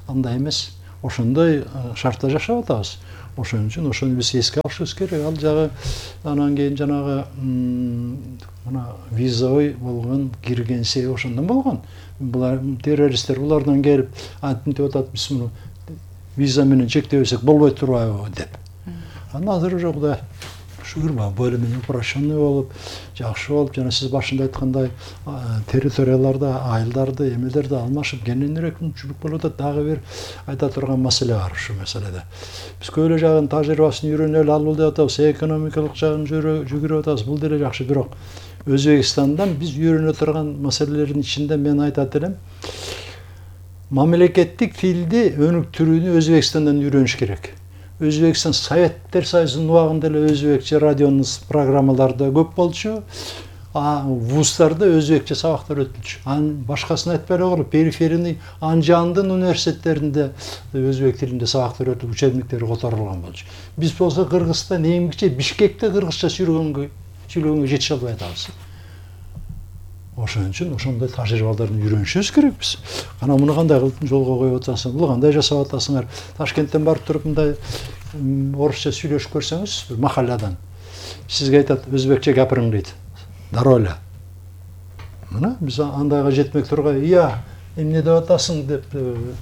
Андай эмес. Ошондой шартта жашап атабыз. Ошон үчүн ошону биз эске алышыбыз керек. Ал жагы анан кийин жанагы мына визовый болгон кирген себеби ошондон болгон. Булар террористтер булардан келип антип атат, биз муну виза менен чектебесек болбой турбайбы деп. Анан азыр уже Кудай шүгүр бөлүмү управленный болуп, жакшы болуп, жана сиз башында айткандай территорияларда айылдарды, эмелерди алмашып кененирээк мүмкүнчүлүк болуп атат. Дагы бир айта турган маселе бар ушул маселеде. Биз көйлө жагын тажрыйбасын үйрөнөлү алып деп атабыз, экономикалык жагын жүгүрүп атабыз. Бул деле жакшы, бирок Өзбекстандан биз үйрөнө турган маселелердин ичинде мен айтат элем, мамлекеттик тилди өнүктүрүүнү Өзбекстандан үйрөнүш керек. Өзбекстан Советтер Союзунун убагында эле өзбекче радионун программаларда көп болчу. Вуздарда өзбекче сабактар өтүлчү. Башкасын айтпай эле коелу, периферийный Анжандын университеттеринде өзбек тилинде сабактар өтүп, учебниктери которулган болчу. Биз болсо Кыргызстан эмгиче Бишкекте кыргызча сүйлөгөнгө жетише албай атабыз. Ошон үчүн ошондой тажрыйбаларды үйрөнүшүбүз керек биз. Анан муну кандай кылып жолго коюп атасың, бул кандай жасап атасыңар? Ташкенттен барып туруп мындай орусча сүйлөшүп көрсөңүз, бир махалладан сизге айтат, өзбекче гапырың дейт. Дароля. Мына биз андайга жетмек тургай, эмне деп атасың деп,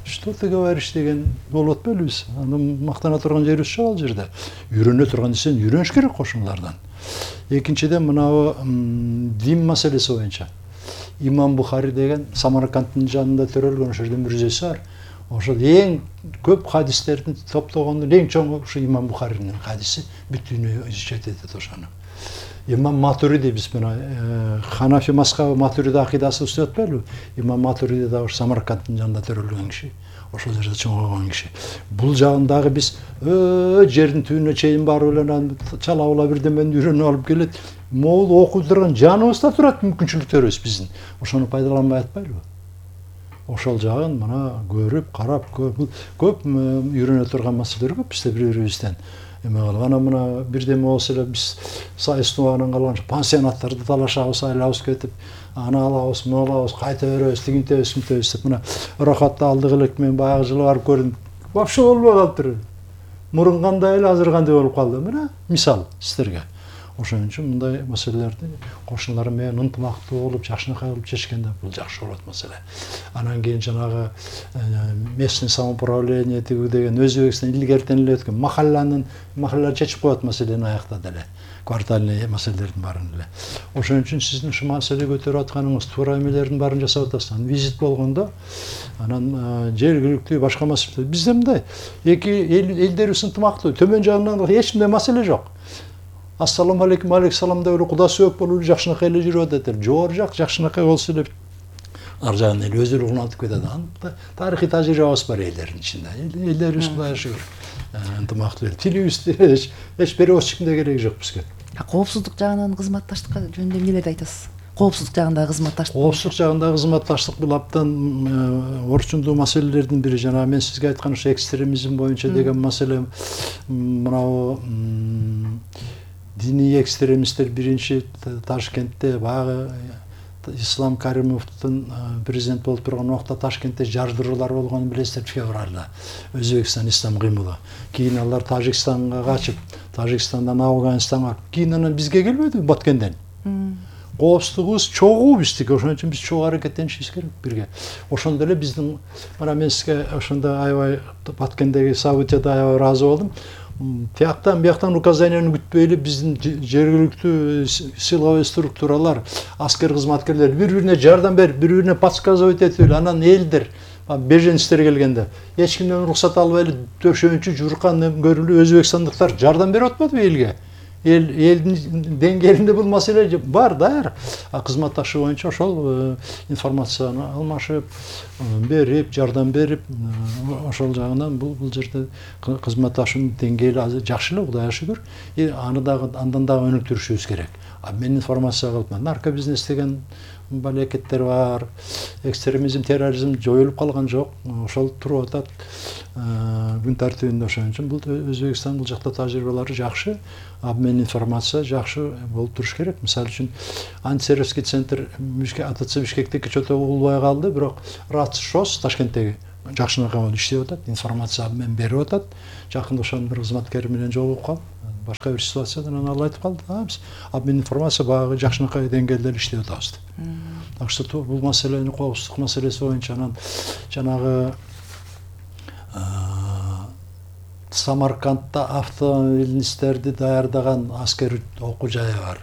что ты говоришь деген болуп атпайлы биз. Анан мактана турган жерибиз жок ал жерде. Үйрөнө турган нерсени үйрөнүш керек кошуналардан. Экинчиден мынау дин маселеси боюнча. Имам Бухари деген Самаркандтын жанында төрөлгөн ошол жердин мүрзөсү бар. Ошол эң көп хадистерди топтогондун эң чоңу ушу Имам Бухаринин хадиси, бүт дүйнө изучать этет ошону. Имам Матуриди биз мына Ханафи мазхабы Матуриди акидасы деп атпайлыбы? Имам Матуриди да ушу Самаркандтын жанында төрөлгөн киши. Ошол жерде чоңойгон киши. Бул жагындагы биз жердин түбүнө чейин барып эле чала бирдемени үйрөнүп алып келет. Могул окуп турган жаныбызда турат мүмкүнчүлүктөрүбүз биздин. Ошону пайдаланбай атпайлыбы? Ошол жагын мына көрүп, карап, көп үйрөнө турган маселелер көп бизде бири-бирибизден. Анан мына бирдеме болсо эле биз сайыстын убагынан калган пансионаттарды талашабыз, айлабыз кетип, аны алабыз, муну алабыз, кайта беребиз, тигинтебиз, мынтебиз деп мына ырахатты алдык элек мен баягы жылы барып көрдүм. Вообще болбой калыптыр. Мурун кандай эле, азыр кандай болуп калды. Мына мисал сиздерге. Ошон үчүн мындай маселелерди кошуналар менен ынтымактуу болуп, жакшынакай кылып чечкенде бул жакшы болот маселе. Анан кийин жанагы местный самоуправление деген Өзбекстан илгертен эле өткөн махаллалар чечип коет маселени аяктады эле. Квартальный маселелердин баарын эле. Ошон үчүн сиздин ушу маселе көтөрүп атканыңыз туура эмелердин баарын жасап атасыз. Анан визит болгондо анан жергиликтүү башка маселе. Бизде мындай эки элдерибиз ынтымактуу, төмөн жагынан эч кандай маселе жок. Ассаламу алейкум, алейкум деп эле куда сөөк болуп жакшынакай эле жүрүп атат эле. Жогору жак жакшынакай болсо эле ар жагын эле өзү улантып кетет. Тарыхый тажрыйбабыз бар элдердин ичинде. Элдерибиз Кудайга шүгүр ынтымактуу. Тилибизди эч переводчиктин да кереги жок бизге. Коопсуздук жагынан кызматташтыкка жөнүндө эмнелерди айтасыз? Коопсуздук жагындагы кызматташтык. Коопсуздук жагындагы кызматташтык бул абдан орчундуу маселелердин бири. Жана мен сизге айткан ушу экстремизм боюнча деген маселе мынау диний экстремисттер биринчи Ташкентте баягы Ислам Каримовдун президент болуп турган убакта Ташкентте жардыруулар болгонун билесиздер февралда. Өзбекстан ислам кыймылы. Кийин алар Тажикстанга качып, Тажикстандан Афганистанга, кийин анан бизге келбеди Баткенден. Коопсуздугубуз чогуу биздики, ошон үчүн биз чогуу аракеттенишибиз керек бирге. Ошондо эле биздин мына мен сизге ошондо аябай Баткендеги событияда аябай ыраазы болдум. Тияктан бияктан указанияны күтпөй эле биздин жергиликтүү силовой структуралар, аскер кызматкерлер бири-бирине жардам берип, бири-бирине подсказывать этип эле анан элдер беженецтер келгенде эч кимден уруксат албай эле төшөнчү журкан көрүлүп өзбекстандыктар жардам берип атпадыбы элге? Элдин деңгээлинде бул маселе бар даяр. Кызматташуу боюнча ошол информацияны алмашып, берип, жардам берип, ошол жагынан бул жерде кызматташуунун деңгээли азыр жакшы эле, Кудайга шүгүр. Аны дагы андан дагы өнүктүрүшүбүз керек. Мен информация кылып, наркобизнес деген балекеттер бар, экстремизм, терроризм жоюлуп калган жок, ошол туруп атат күн тартибинде. Ошон үчүн бул Өзбекстан бул жакта тажрыйбалары жакшы, обмен информация жакшы болуп туруш керек. Мисалы үчүн антитеррористский центр АТЦ Бишкектеги чото улбай калды, бирок РАЦ-ШОС Ташкенттеги жакшынакай болуп иштеп атат, информация обмен берип атат. Жакында ошонун бир кызматкери менен жолугуп калып, башка бир ситуациядан ал айтып калды, биз обмен информация багы жакшынакай деңгээлде иштеп атабыз деп. Так что бул маселени коопсуздук маселеси боюнча анан жанагы Самаркандта автомобилисттерди даярдаган аскер окуу жайы бар.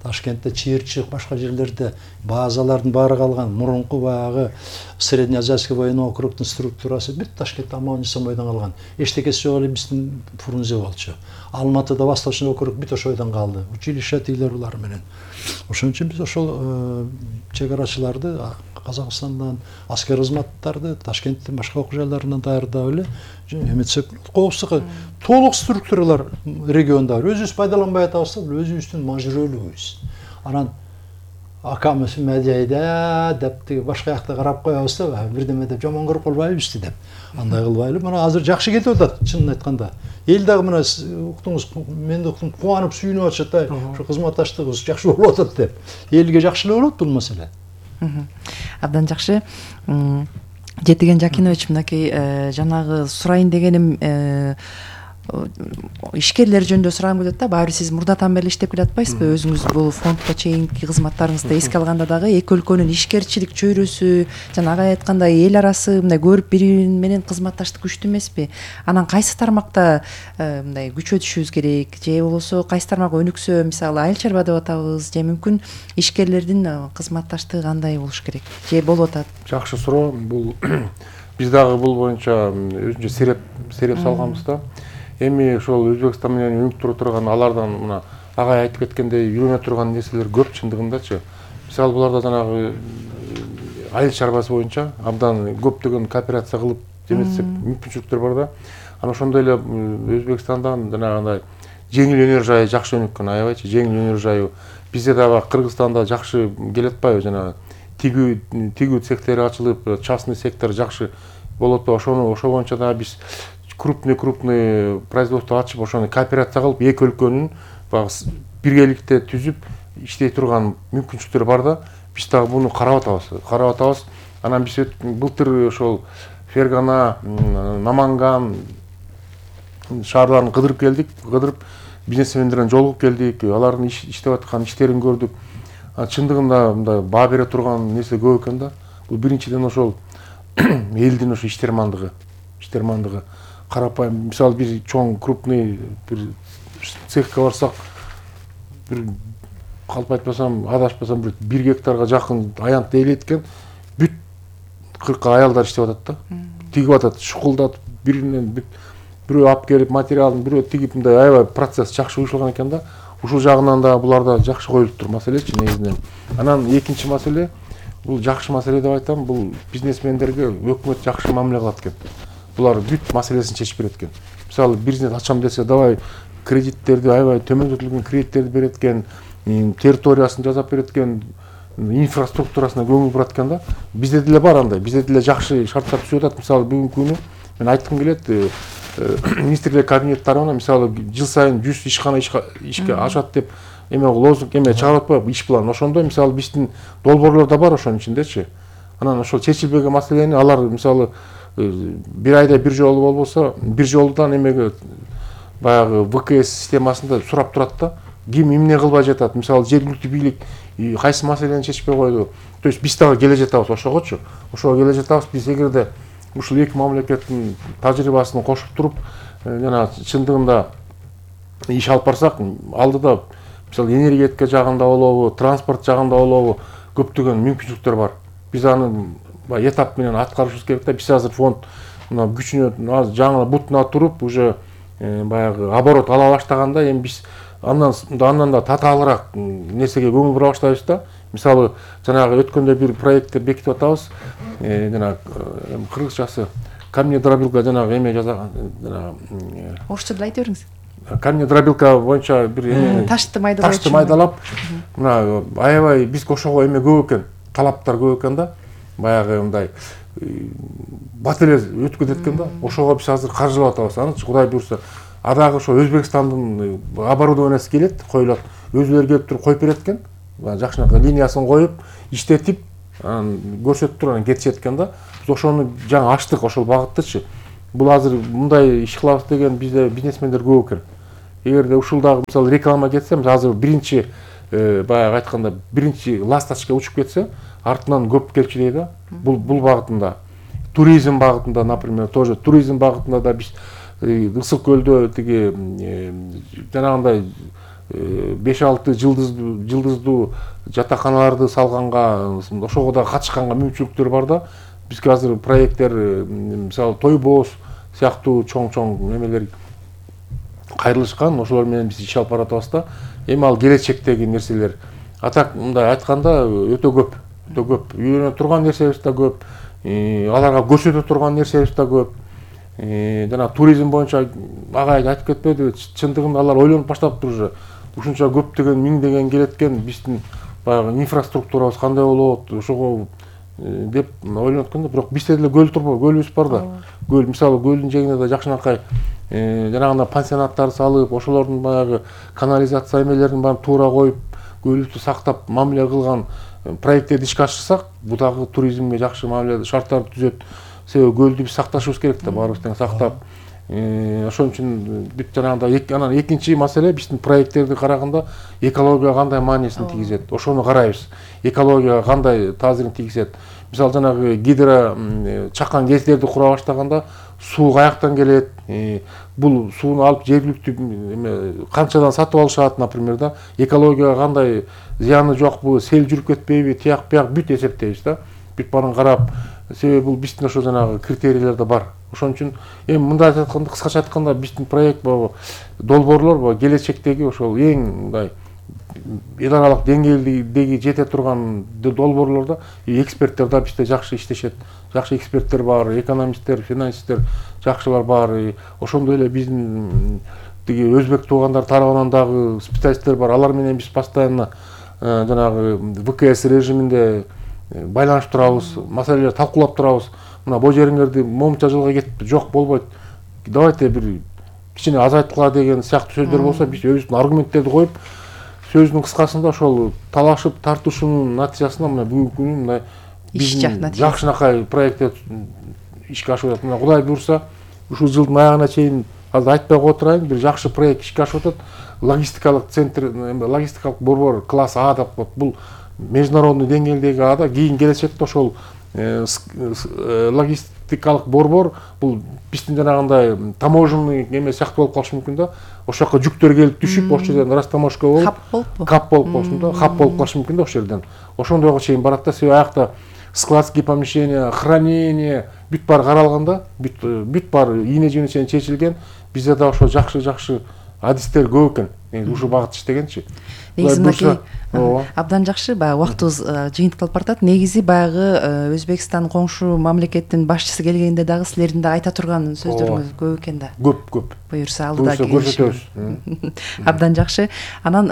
Ташкентте Чыйырчык, башка жерлерде базалардын баары калган. Мурунку баягы Среднеазиатский военный округдун структурасы бүт Ташкентте Аман-Эсен бойдон калган. Эчтекеси жок эле биздин Фрунзе болчу. Алматыда Восточный округ бүт ошол бойдон калды. Училище тилер булар менен. Ошон үчүн биз ошол чек арачыларды Казакстандан, аскер кызматтарды Ташкенттин башка окуу жайларынан даярдап эле эметсек, коопсуздукка толук структуралар региондо бар. Өзүбүз пайдаланбай атабыз да, өзүбүздүн мажүрөлүгүбүз. Анан акамыз медиада деп тиги башка жакта карап коебуз да, бирдеме деп жаман көрүп калбайбызбы деп. Андай кылбайлы. Мына азыр жакшы кетип атат, чынын айтканда. Эл дагы мына уктуңуз, мен да уктум, кубанып сүйүнүп атышат, ошо кызматташтыгыбыз жакшы болуп атат деп. Элге жакшы эле болот бул маселе. Абдан жакшы. Жетиген Жакинович, мынакей жанагы сурайын дегеним ишкерлер жөнүндө сурагым келет да. Баары сиз мурдатан бери иштеп келатпайсызбы? Өзүңүз бул фондко чейинки кызматтарыңызды эске алганда дагы эки өлкөнүн ишкерчилик чөйрөсү, жана ага айткандай эл арасы мындай көрүп бири менен кызматташтык күчтүү эмеспи? Анан кайсы тармакта мындай күчөтүшүбүз керек, же болбосо кайсы тармак өнүксө, мисалы айыл чарба деп атабыз, же мүмкүн ишкерлердин кызматташтыгы кандай болуш керек? Же болуп атат? Жакшы суроо. Бул биз дагы бул боюнча өзүнчө сереп салганбыз да. Эми ошол Өзбекстан менен өнүктүрө турган алардан мына агай айтып кеткендей үйрөнө турган нерселер көп чындыгындачы. Мисалы буларда жанагы айыл чарбасы боюнча абдан көптөгөн кооперация кылып жеметсек мүмкүнчүлүктөр бар да. Анан ошондой эле Өзбекстандан жанагындай жеңил өнөр жайы жакшы өнүккөн, аябайчы жеңил өнөр жайы. Бизде дагы Кыргызстанда жакшы келет атпайбы, жанагы тигүү цехтери ачылып, частный сектор жакшы болуп атпайбы. Ошо боюнча дагы биз крупный производство ачып, ошону кооперация кылып, эки өлкөнүн багы биргеликте түзүп иштей турган мүмкүнчүлүктөр бар да. Биз дагы буну карап атабыз. Анан биз былтыр ошол Фергана, Наманган шаарларын кыдырып келдик. Кыдырып бизнесмендер менен жолугуп келдик. Алардын иштеп аткан иштерин көрдүк. Чындыгында мындай баа бере турган нерсе көп экен да. Бул биринчиден ошол элдин ошо иштермандыгы. Карапайым, мисалы бир чоң крупный бир цехке барсак, бир калп айтпасам, адашпасам бир гектарга жакын аянтты ээлейт экен, бүт 40 аялдар иштеп атат да. Тигип атат, шукулдатып, биринен бирөө алып келип материалын, бирөө тигип, мындай аябай процесс жакшы уюшталган экен да. Ушул жагынан да буларда жакшы коюлуп тур маселечи негизинен. Анан экинчи маселе, бул жакшы маселе деп айтам, бул бизнесмендерге өкмөт жакшы мамиле кылат экен. Булар бүт маселесин чечип берет экен. Мисалы бизнес ачам десе, давай кредиттерди, аябай төмөндөтүлгөн кредиттерди берет экен, территориясын жасап берет экен, инфраструктурасына көңүл бурат экен да. Бизде деле бар андай, бизде деле жакшы шарттар түзүп атат. Мисалы бүгүнкү күнү мен айткым келет, министрлер кабинеттарына мисалы жыл сайын 100 ишкана ишке ашат деп лозунг чыгарып атпайбы, иш план. Ошондой мисалы биздин долбоорлор да бар ошонун ичиндечи. Анан ошол чечилбеген маселени алар мисалы бир айда бир жолу болбосо, бир жолудан эмеге баягы ВКС системасында сурап турат да. Ким эмне кылбай жатат? Мисалы жергиликтүү бийлик кайсы маселени чечпей койду. То есть биз дагы келе жатабыз ошогочу. Ошого келе жатабыз. Биз эгерде ушул эки мамлекеттин тажрыйбасын кошуп туруп, жана чындыгында иш алып барсак, алдыда мисалы энергетика жагында болобу, транспорт жагында болобу, көптөгөн мүмкүнчүлүктөр бар. Биз аны этап менен аткарышыбыз керек да. Биз азыр фонд мына күчүнө жаңы бутуна туруп, уже баягы оборот ала баштаганда, эми биз андан да татаалыраак нерсеге көңүл бура баштайбыз да. Мисалы жанагы өткөндө бир проекттер бекитип атабыз. Жана кыргызчасы камнедробилка жанагы эме жасаган, жанагы орусча деле айта бериңиз. Камнедробилка боюнча бир ташты майдалап, мына аябай биз ошого эме көп экен. талаптар көп экен да, баягы мындай бат эле өтүп кетет экен да. Ошого биз азыр каржылап атабыз. Анычы Кудай буйрса, адагы ошо Өзбекстандын оборудованиясы келет, коюлат. Өзүлөрү келип туруп коюп берет экен. Жакшынакай линиясын коюп, иштетип, көрсөтүп туруп анан кетишет экен да. Биз ошону жаңы ачтык, ошол багыттычы. Бул азыр мындай иш кылабыз деген бизде бизнесмендер көп экен. Эгерде ушулдагы мисалы реклама кетсе, азыр биринчи баягы айтканда биринчи ласточка учуп кетсе, артынан көп келчү да. Бул багытында. Туризм багытында, например, тоже туризм багытында да биз Ысык көлдө тиги жанагындай 5-6 жылдыздуу жатаканаларды салганга, ошого да катышканга мүмкүнчүлүктөр бар да. Бизге азыр проекттер, мисалы Тойбоз сыяктуу чоң немелер кайрылышкан, ошолор менен биз иш алып баратабыз да. Эми ал келечектеги нерселер. Атак мындай айтканда өтө көп. Үйрөнө турган нерсебиз да көп. Аларга көрсөтө турган нерсебиз да көп. Жана туризм боюнча агай айтып кетпеди, чындыгында алар ойлонуп баштаптыр уже. Ушунча көптөгөн миңдеген келет экен, биздин баягы инфраструктурабыз кандай болот, ошого деп ойлонот экен да. Бирок бизде деле көл турбу, көлүбүз бар да. Көл, мисалы көлдүн жээгине да жакшынакай жанагындай пансионаттар салып, ошолордун баягы канализация эмелерин баарын туура коюп, көлүбүздү сактап мамиле кылган проекттерди ишке ашырсак, бул дагы туризмге жакшы мамиле шарттарды түзөт. Себеби көлдү биз сакташыбыз керек да, баарыбыз тең сактап. Ошон үчүн бүт жанагындай анан экинчи маселе биздин проекттерди караганда экологияга кандай маанисин тийгизет, ошону карайбыз. Экологияга кандай таасирин тийгизет. Мисалы жанагы гидро чакан кездерди кура баштаганда суу каяктан келет, бул сууну алып жергиликтүү канчадан сатып алышат, например да. Экологияга кандай зыяны жокпу, сел жүрүп кетпейби, тияк бияк бүт эсептейбиз да. Бүт баарын карап, себеби бул биздин ошо жанагы критерийлер да бар. Ошон үчүн эми мындай айтканда, кыскача айтканда, биздин проект долбоорлор келечектеги ошол эң мындай эл аралык деңгээлдеги жете турган долбоорлордо эксперттер да бизде жакшы иштешет. Жакшы эксперттер бар, экономисттер, финансисттер жакшылар бар. Ошондой эле биздин тиги өзбек туугандар тарабынан дагы специалисттер бар. Алар менен биз постоянно жанагы ВКС режиминде байланышып турабыз, маселелерди талкуулап турабыз. Мына бул жериңерди момунча жылга кетипти, жок болбойт. Давайте бир кичине азайткыла деген сыяктуу сөздөр болсо, биз өзүбүздүн аргументтерди коюп, сөздүн кыскасында ошол талашып тартышуунун натыйжасында мына бүгүнкү күнү мындай биздин жакшынакай проекттер ишке ашып атат. Мына Кудай буйрса, ушул жылдын аягына чейин азыр айтпай кое турайын, бир жакшы проект ишке ашып атат. Логистикалык центр, логистикалык борбор класс А деп коет. Бул международный деңгээлдеги ада, кийин келечекте ошол логистикалык борбор бул биздин жанагындай таможенный эме сыяктуу болуп калышы мүмкүн да. Ошол жака жүктөр келип түшүп, ошол жерден растаможка болуп, кап болуп калышы да, хаб болуп калышы мүмкүн да ошол жерден. Ошондойго чейин барат да, себеби аякта складские помещения, хранение бүт баары каралганда, бүт баары ийне жөнү чейин чечилген. Бизде да ошо жакшы адистер көп экен. Ушул багытта иштегенчи. Негизи мынакей абдан жакшы, баягы убактыбыз жыйынтыкталып баратат. Негизи баягы Өзбекстан коңшу мамлекеттин башчысы келгенде дагы силердин да айта турган сөздөрүңүз көп экен да. Көп. Буюрса алдыда көрсөтөбүз. Абдан жакшы. Анан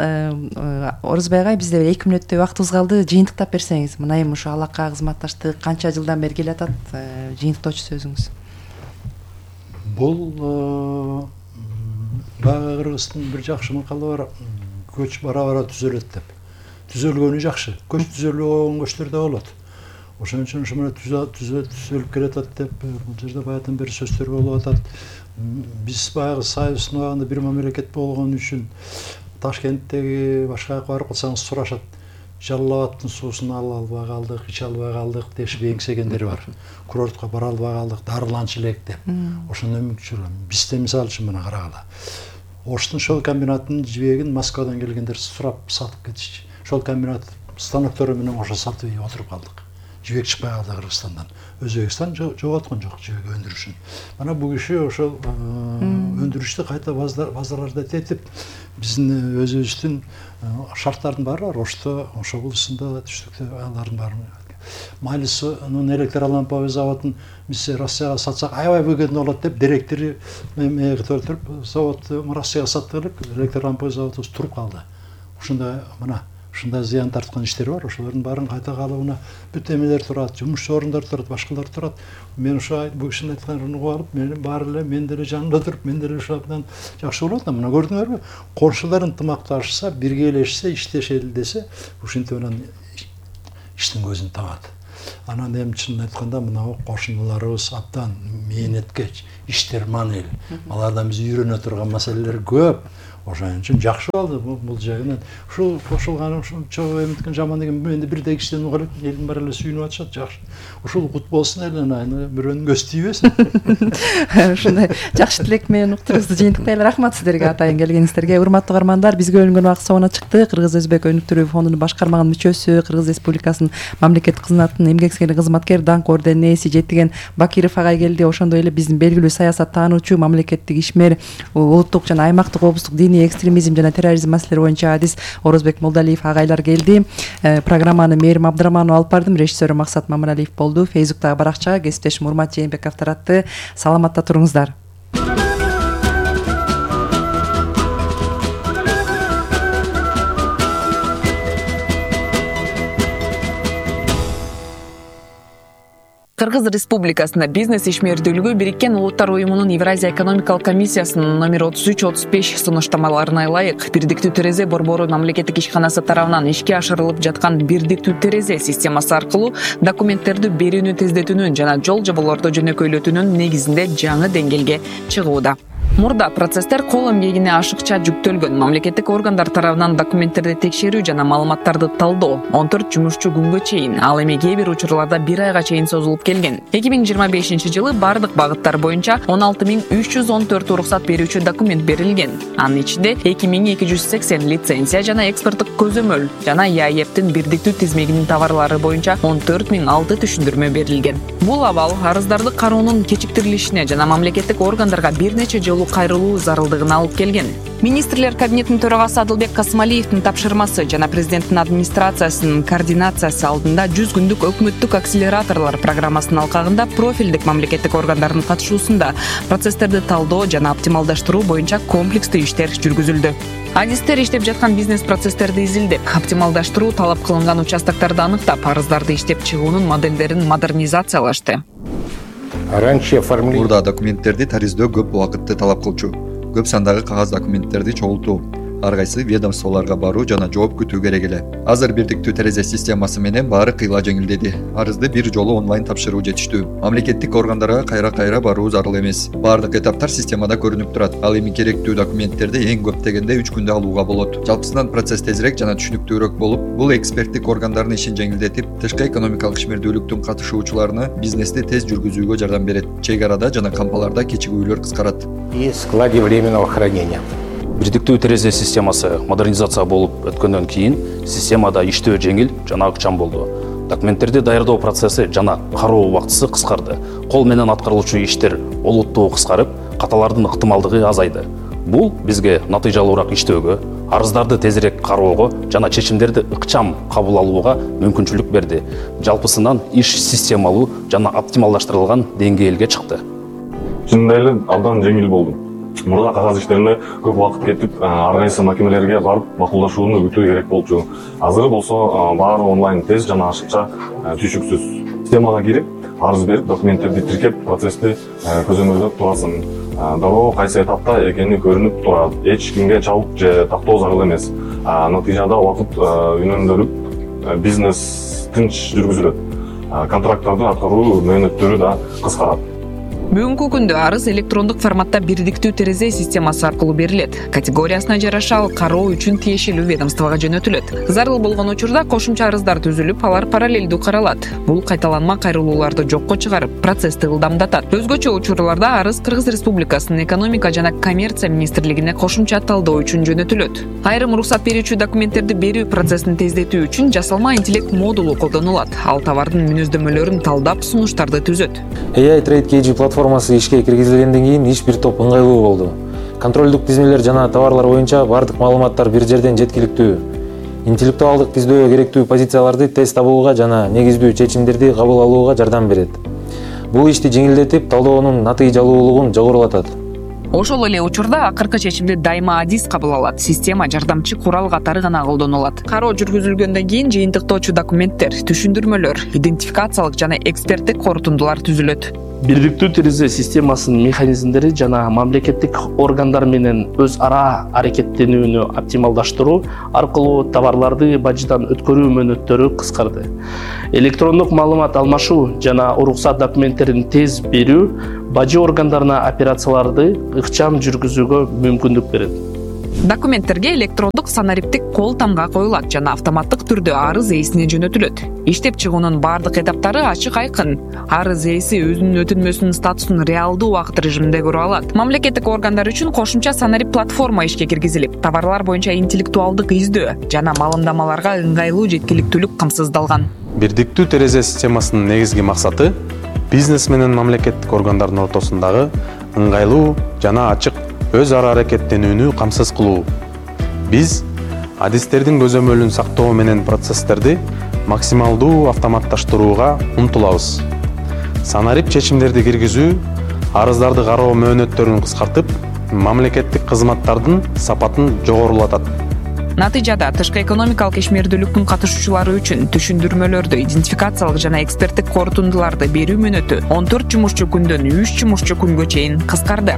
Орозбай агай, бизде 2 мүнөттөй убактыбыз калды. Жыйынтыктап берсеңиз, мына эми ушу алакка кызматташтык канча жылдан бери келатат, жыйынтыктоочу сөзүңүз. Бул баягы Кыргыздын бир жакшы макалы бар. Көч бара түзөлөт деп. Түзөлгөнү жакшы. Көч түзөлбөй койгон көчтөр да болот. Ошон үчүн ушу менен түзөлүп келатат деп бул жерде баягыдан бери сөздөр болуп атат. Биз баягы Союздун убагында бир мамлекет болгон үчүн Ташкенттеги башка жака барып калсаңыз сурашат. Жалал Абадтын суусун ала албай калдык, иче албай калдык дешип эңсегендери бар. Курортко бара албай калдык, дарыланчу элек деп. Ошондой мүмкүнчүлүк. Бизде мисалы үчүн мына карагыла. Оштун шол комбинатынын жибегин Москвадан келгендер сурап сатып кетишти. Шол комбинат станоктору менен ошо сатып отуруп калдык. Жибек чыкпай калды Кыргызстандан. Өзбекстан жоготкон жок жибек өндүрүшүн. Мана бул киши ошол өндүрүштү кайта базарларда тетип, биздин өзүбүздүн шарттардын баары бар. Ошо булусунда түштүктө алардын баарын Майлисунун электроламповый заводун биз Россияга сатсак аябай выгодно болот деп директори толтуруп заводду Россияга саттык элек электроламповый заводубуз туруп калды. Ушундай мына ушундай зыян тарткан иштер бар. Ошолордун баарын кайта калыбына бүт эмелер турат, жумуш орундар турат, башкалар турат. Мен ошо бул кишинин айтканын угуп алып, мен баары эле мен деле жанында туруп, мен деле ушул абдан жакшы болот. Мына көрдүңөрбү? Коңшулар ынтымакташса, биргелешсе, иштешели десе, ушинтип анан иштин көзүн табат. Анан эми чынын айтканда мына кошуналарыбыз абдан мээнеткеч, иштерман эл. Алардан биз үйрөнө турган маселелер көп. Ошон үчүн жакшы болду бул жагынан. Ушул кошулган ушул чогуу эмиткен жаман деген менде бирдей кишиден угуп элек, элдин баары эле сүйүнүп атышат, жакшы. Ушул кут болсун эле, бирөөнүн көзү тийбесин. Ушундай жакшы тилек менен уктурубузду жыйынтыктайлы. Рахмат сиздерге атайын келгениңиздерге. Урматтуу каармандар, бизге бөлүнгөн убакыт соңуна чыкты. Кыргыз Өзбек өнүктүрүү фондунун башкарманын мүчөсү, Кыргыз Республикасынын мамлекеттик кызматынын эмгек сиңири кызматкер, даңк орденинин ээси Жетиген Бакиров агай келди. Ошондой эле биздин белгилүү саясаттануучу, мамлекеттик ишмер, улуттук жана аймактык облустук диний экстремизм жана терроризм маселелери боюнча адис Орозбек Молдалиев агайлар келди. Программаны Мээрим Абдыраманова алып бардым, режиссеру Максат Мамыралиев болду. Фейсбуктагы баракчага кесиптешим Урмат Жээнбеков таратты. Саламатта туруңуздар. Кыргыз Республикасында бизнес ишмердүүлүгү Бириккен Улуттар уюмунун Евразия экономикалык комиссиясынын номер 33-35 сунуштамаларына ылайык бирдиктүү терезе борбору мамлекеттик ишканасы тарабынан ишке ашырылып жаткан бирдиктүү терезе системасы аркылуу документтерди берүүнү тездетүүнүн жана жол жоболорду жөнөкөйлөтүүнүн негизинде жаңы деңгээлге чыгууда. Мурда процесстер кол эмгегине ашыкча жүктөлгөн. Мамлекеттик органдар тарабынан документтерди текшерүү жана маалыматтарды талдоо 14 жумушчу күнгө чейин, ал эми кээ бир учурларда 1 айга чейин созулуп келген. 2025-жылы бардык багыттар боюнча 16314 уруксат берүүчү документ берилген. Анын ичинде 2280 лицензия жана экспорттук көзөмөл жана ЯЭПтин бирдиктүү тизмегинин товарлары боюнча 14006 түшүндүрмө берилген. Бул абал арыздарды кароонун кечиктирилишине жана мамлекеттик органдарга бир нече жолу кайрылуу зарылдыгына алып келген. Министрлер кабинетинин төрагасы Адылбек Касымалиевдин тапшырмасы жана президенттин администрациясынын координациясы алдында 100 күндүк өкмөттүк акселераторлор программасынын алкагында профилдик мамлекеттик органдардын катышуусунда процесстерди талдоо жана оптималдаштыруу боюнча комплекстүү иштер жүргүзүлдү. Адистер иштеп жаткан бизнес процесстерди изилдеп, оптималдаштыруу талап кылынган участокторду аныктап, арыздарды иштеп чыгуунун моделдерин модернизациялашты. Мурда документтерди тариздөө көп убакытты талап кылчу. Көп сандагы кагаз документтерди чогултуу, ар кайсы ведомстволорго баруу жана жооп күтүү керек эле. Азыр бирдиктүү терезе системасы менен баары кыйла жеңилдеди. Арызды бир жолу онлайн тапшыруу жетиштүү. Мамлекеттик органдарга кайра баруу зарыл эмес. Баардык этаптар системада көрүнүп турат. Ал эми керектүү документтерди эң көп дегенде 3 күндө алууга болот. Жалпысынан процесс тезирээк жана түшүнүктүүрөөк болуп, бул эксперттик органдардын ишин жеңилдетип, тышкы экономикалык ишмердүүлүктүн катышуучуларына бизнести тез жүргүзүүгө жардам берет. Чек арада жана кампаларда кечигүүлөр кыскарат. И складе временного хранения. Бирдиктүү терезе системасы модернизация болуп өткөндөн кийин системада иштөө жеңил жана ыкчам болду. Документтерди даярдоо процесси жана кароо убактысы кыскарды. Кол менен аткарылуучу иштер олуттуу кыскарып, каталардын ыктымалдыгы азайды. Бул бизге натыйжалуураак иштөөгө, арыздарды тезирээк кароого жана чечимдерди ыкчам кабыл алууга мүмкүнчүлүк берди. Жалпысынан иш системалуу жана оптималдаштырылган деңгээлге чыкты. Чынында эле абдан жеңил болду. Мурда кагаз иштерине көп убакыт кетип, ар кайсы макемелерге барып макулдашууну күтүү керек болчу. Азыр болсо баары онлайн, тез жана ашыкча, түшүксүз. Системага кирип, арыз берип, документтерди тиркеп, процессти көзөмөлдөп турасың. Дароо кайсы этапта экени көрүнүп турат. Эч кимге чалып же тактоо зарыл эмес. Натыйжада убакыт үнөмдөлүп, бизнес тынч жүргүзүлөт. Контракттарды аткаруу мөөнөттөрү да кыскарат. Бүгүнкү күндө арыз электрондук форматта бирдиктүү терезе системасы аркылуу берилет. Категориясына жараша ал кароо үчүн тиешелүү ведомствого жөнөтүлөт. Зарыл болгон учурда кошумча арыздар түзүлүп, алар параллелдүү каралат. Бул кайталанма кайрылууларды жокко чыгарып, процессти ылдамдатат. Өзгөчө учурларда арыз Кыргыз Республикасынын экономика жана коммерция министрлигине кошумча талдоо үчүн жөнөтүлөт. Айрым уруксат берүүчү документтерди берүү процессин тездетүү үчүн жасалма интеллект модулу колдонулат. Ал товардын мүнөздөмөлөрүн талдап, сунуштарды түзөт. AI Trade KG платформасы ишке киргизилгенден кийин иш бир топ ыңгайлуу болду. Контролдук тизмелер жана товарлар боюнча бардык маалыматтар бир жерден жеткиликтүү. Интеллектуалдык тиздөө керектүү позицияларды тез табууга жана негиздүү чечимдерди кабыл алууга жардам берет. Бул ишти жеңилдетип, талдоонун натыйжалуулугун жогорулатат. Ошол эле учурда акыркы чечимди дайыма адис кабыл алат. Система жардамчы курал катары гана колдонулат. Кароо жүргүзүлгөндөн кийин жыйынтыктоочу документтер, түшүндүрмөлөр, идентификациялык жана эксперттик корутундулар түзүлөт. Бирдиктүү терезе системасынын механизмдери жана мамлекеттик органдар менен өз ара аракеттенүүнү оптималдаштыруу аркылуу товарларды бажыдан өткөрүү мөөнөттөрү кыскарды. Электрондук маалымат алмашуу жана уруксат документтерин тез берүү бажы органдарына операцияларды ыкчам жүргүзүүгө мүмкүндүк берет. Документтерге электрондук санариптик кол тамга коюлат жана автоматтык түрдө арыз ээсине жөнөтүлөт. Иштеп чыгуунун бардык этаптары ачык айкын. Арыз ээси өзүнүн өтүнмөсүнүн статусун реалдуу убакыт режиминде көрө алат. Мамлекеттик органдар үчүн кошумча санарип платформа ишке киргизилип, товарлар боюнча интеллектуалдык издөө жана маалымдамаларга ыңгайлуу жеткиликтүүлүк камсыздалган. Бирдиктүү терезе системасынын негизги максаты бизнес менен мамлекеттик органдардын ортосундагы ыңгайлуу жана ачык өз ара аракеттенүүнү камсыз кылуу. Биз адистердин көзөмөлүн сактоо менен процесстерди максималдуу автоматташтырууга умтулабыз. Санарип чечимдерди киргизүү арыздарды кароо мөөнөттөрүн кыскартып, мамлекеттик кызматтардын сапатын жогорулатат. Натыйжада тышкы экономикалык ишмердүүлүктүн катышуучулары үчүн түшүндүрмөлөрдү, идентификациялык жана эксперттик корутундуларды берүү мөөнөтү 14 жумушчу күндөн 3 жумушчу күнгө чейин кыскарды.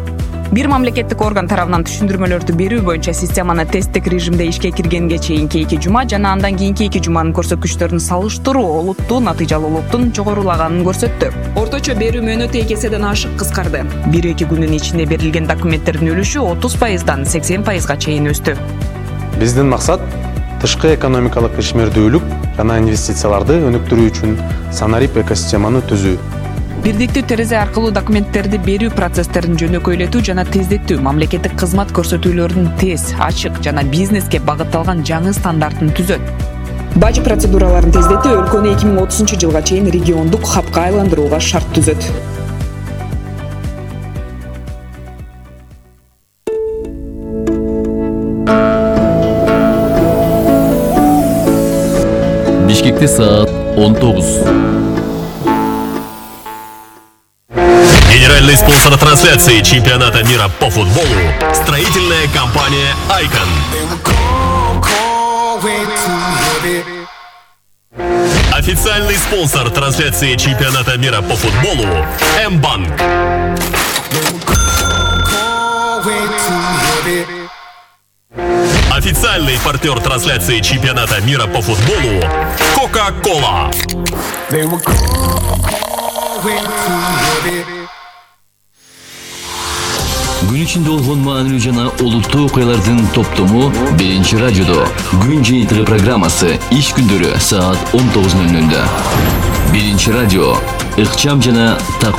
Бир мамлекеттик орган тарабынан түшүндүрмөлөрдү берүү боюнча системаны тесттик режимде ишке киргенге чейинки 2 жума жана андан кийинки 2 жуманын көрсөткүчтөрүн салыштыруу олуттуу натыйжалуулуктун жогорулаганын көрсөттү. Орточо берүү мөөнөтү 2 эседен ашык кыскарды. 1-2 күндүн ичинде берилген документтердин үлүшү 30%дан 80%га чейин өстү. Биздин максат тышкы экономикалык ишмердүүлүк жана инвестицияларды өнүктүрүү үчүн санарип экосистеманы түзүү. Бирдиктүү терезе аркылуу документтерди берүү процесстерин жөнөкөйлөтүү жана тездетүү, мамлекеттик кызмат көрсөтүүлөрүнүн тез, ачык жана бизнеске багытталган жаңы стандартын түзөт. Бажы процедураларын тездетүү өлкөнү 2030-жылга чейин региондук хабка айландырууга шарт түзөт. Бишкекте саат 19. Генеральный спонсор трансляции чемпионата мира по футболу – строительная компания «Айкон». Официальный спонсор трансляции чемпионата мира по футболу – М-банк. Официальный партнер трансляции чемпионата мира по футболу – Кока-Кола. Күн ичинде болгон маанилүү жана олуттуу окуялардын топтому Биринчи радиодо. Күн жыйынтыгы программасы иш күндөрү саат 19:00. Биринчи радио ыкчам жана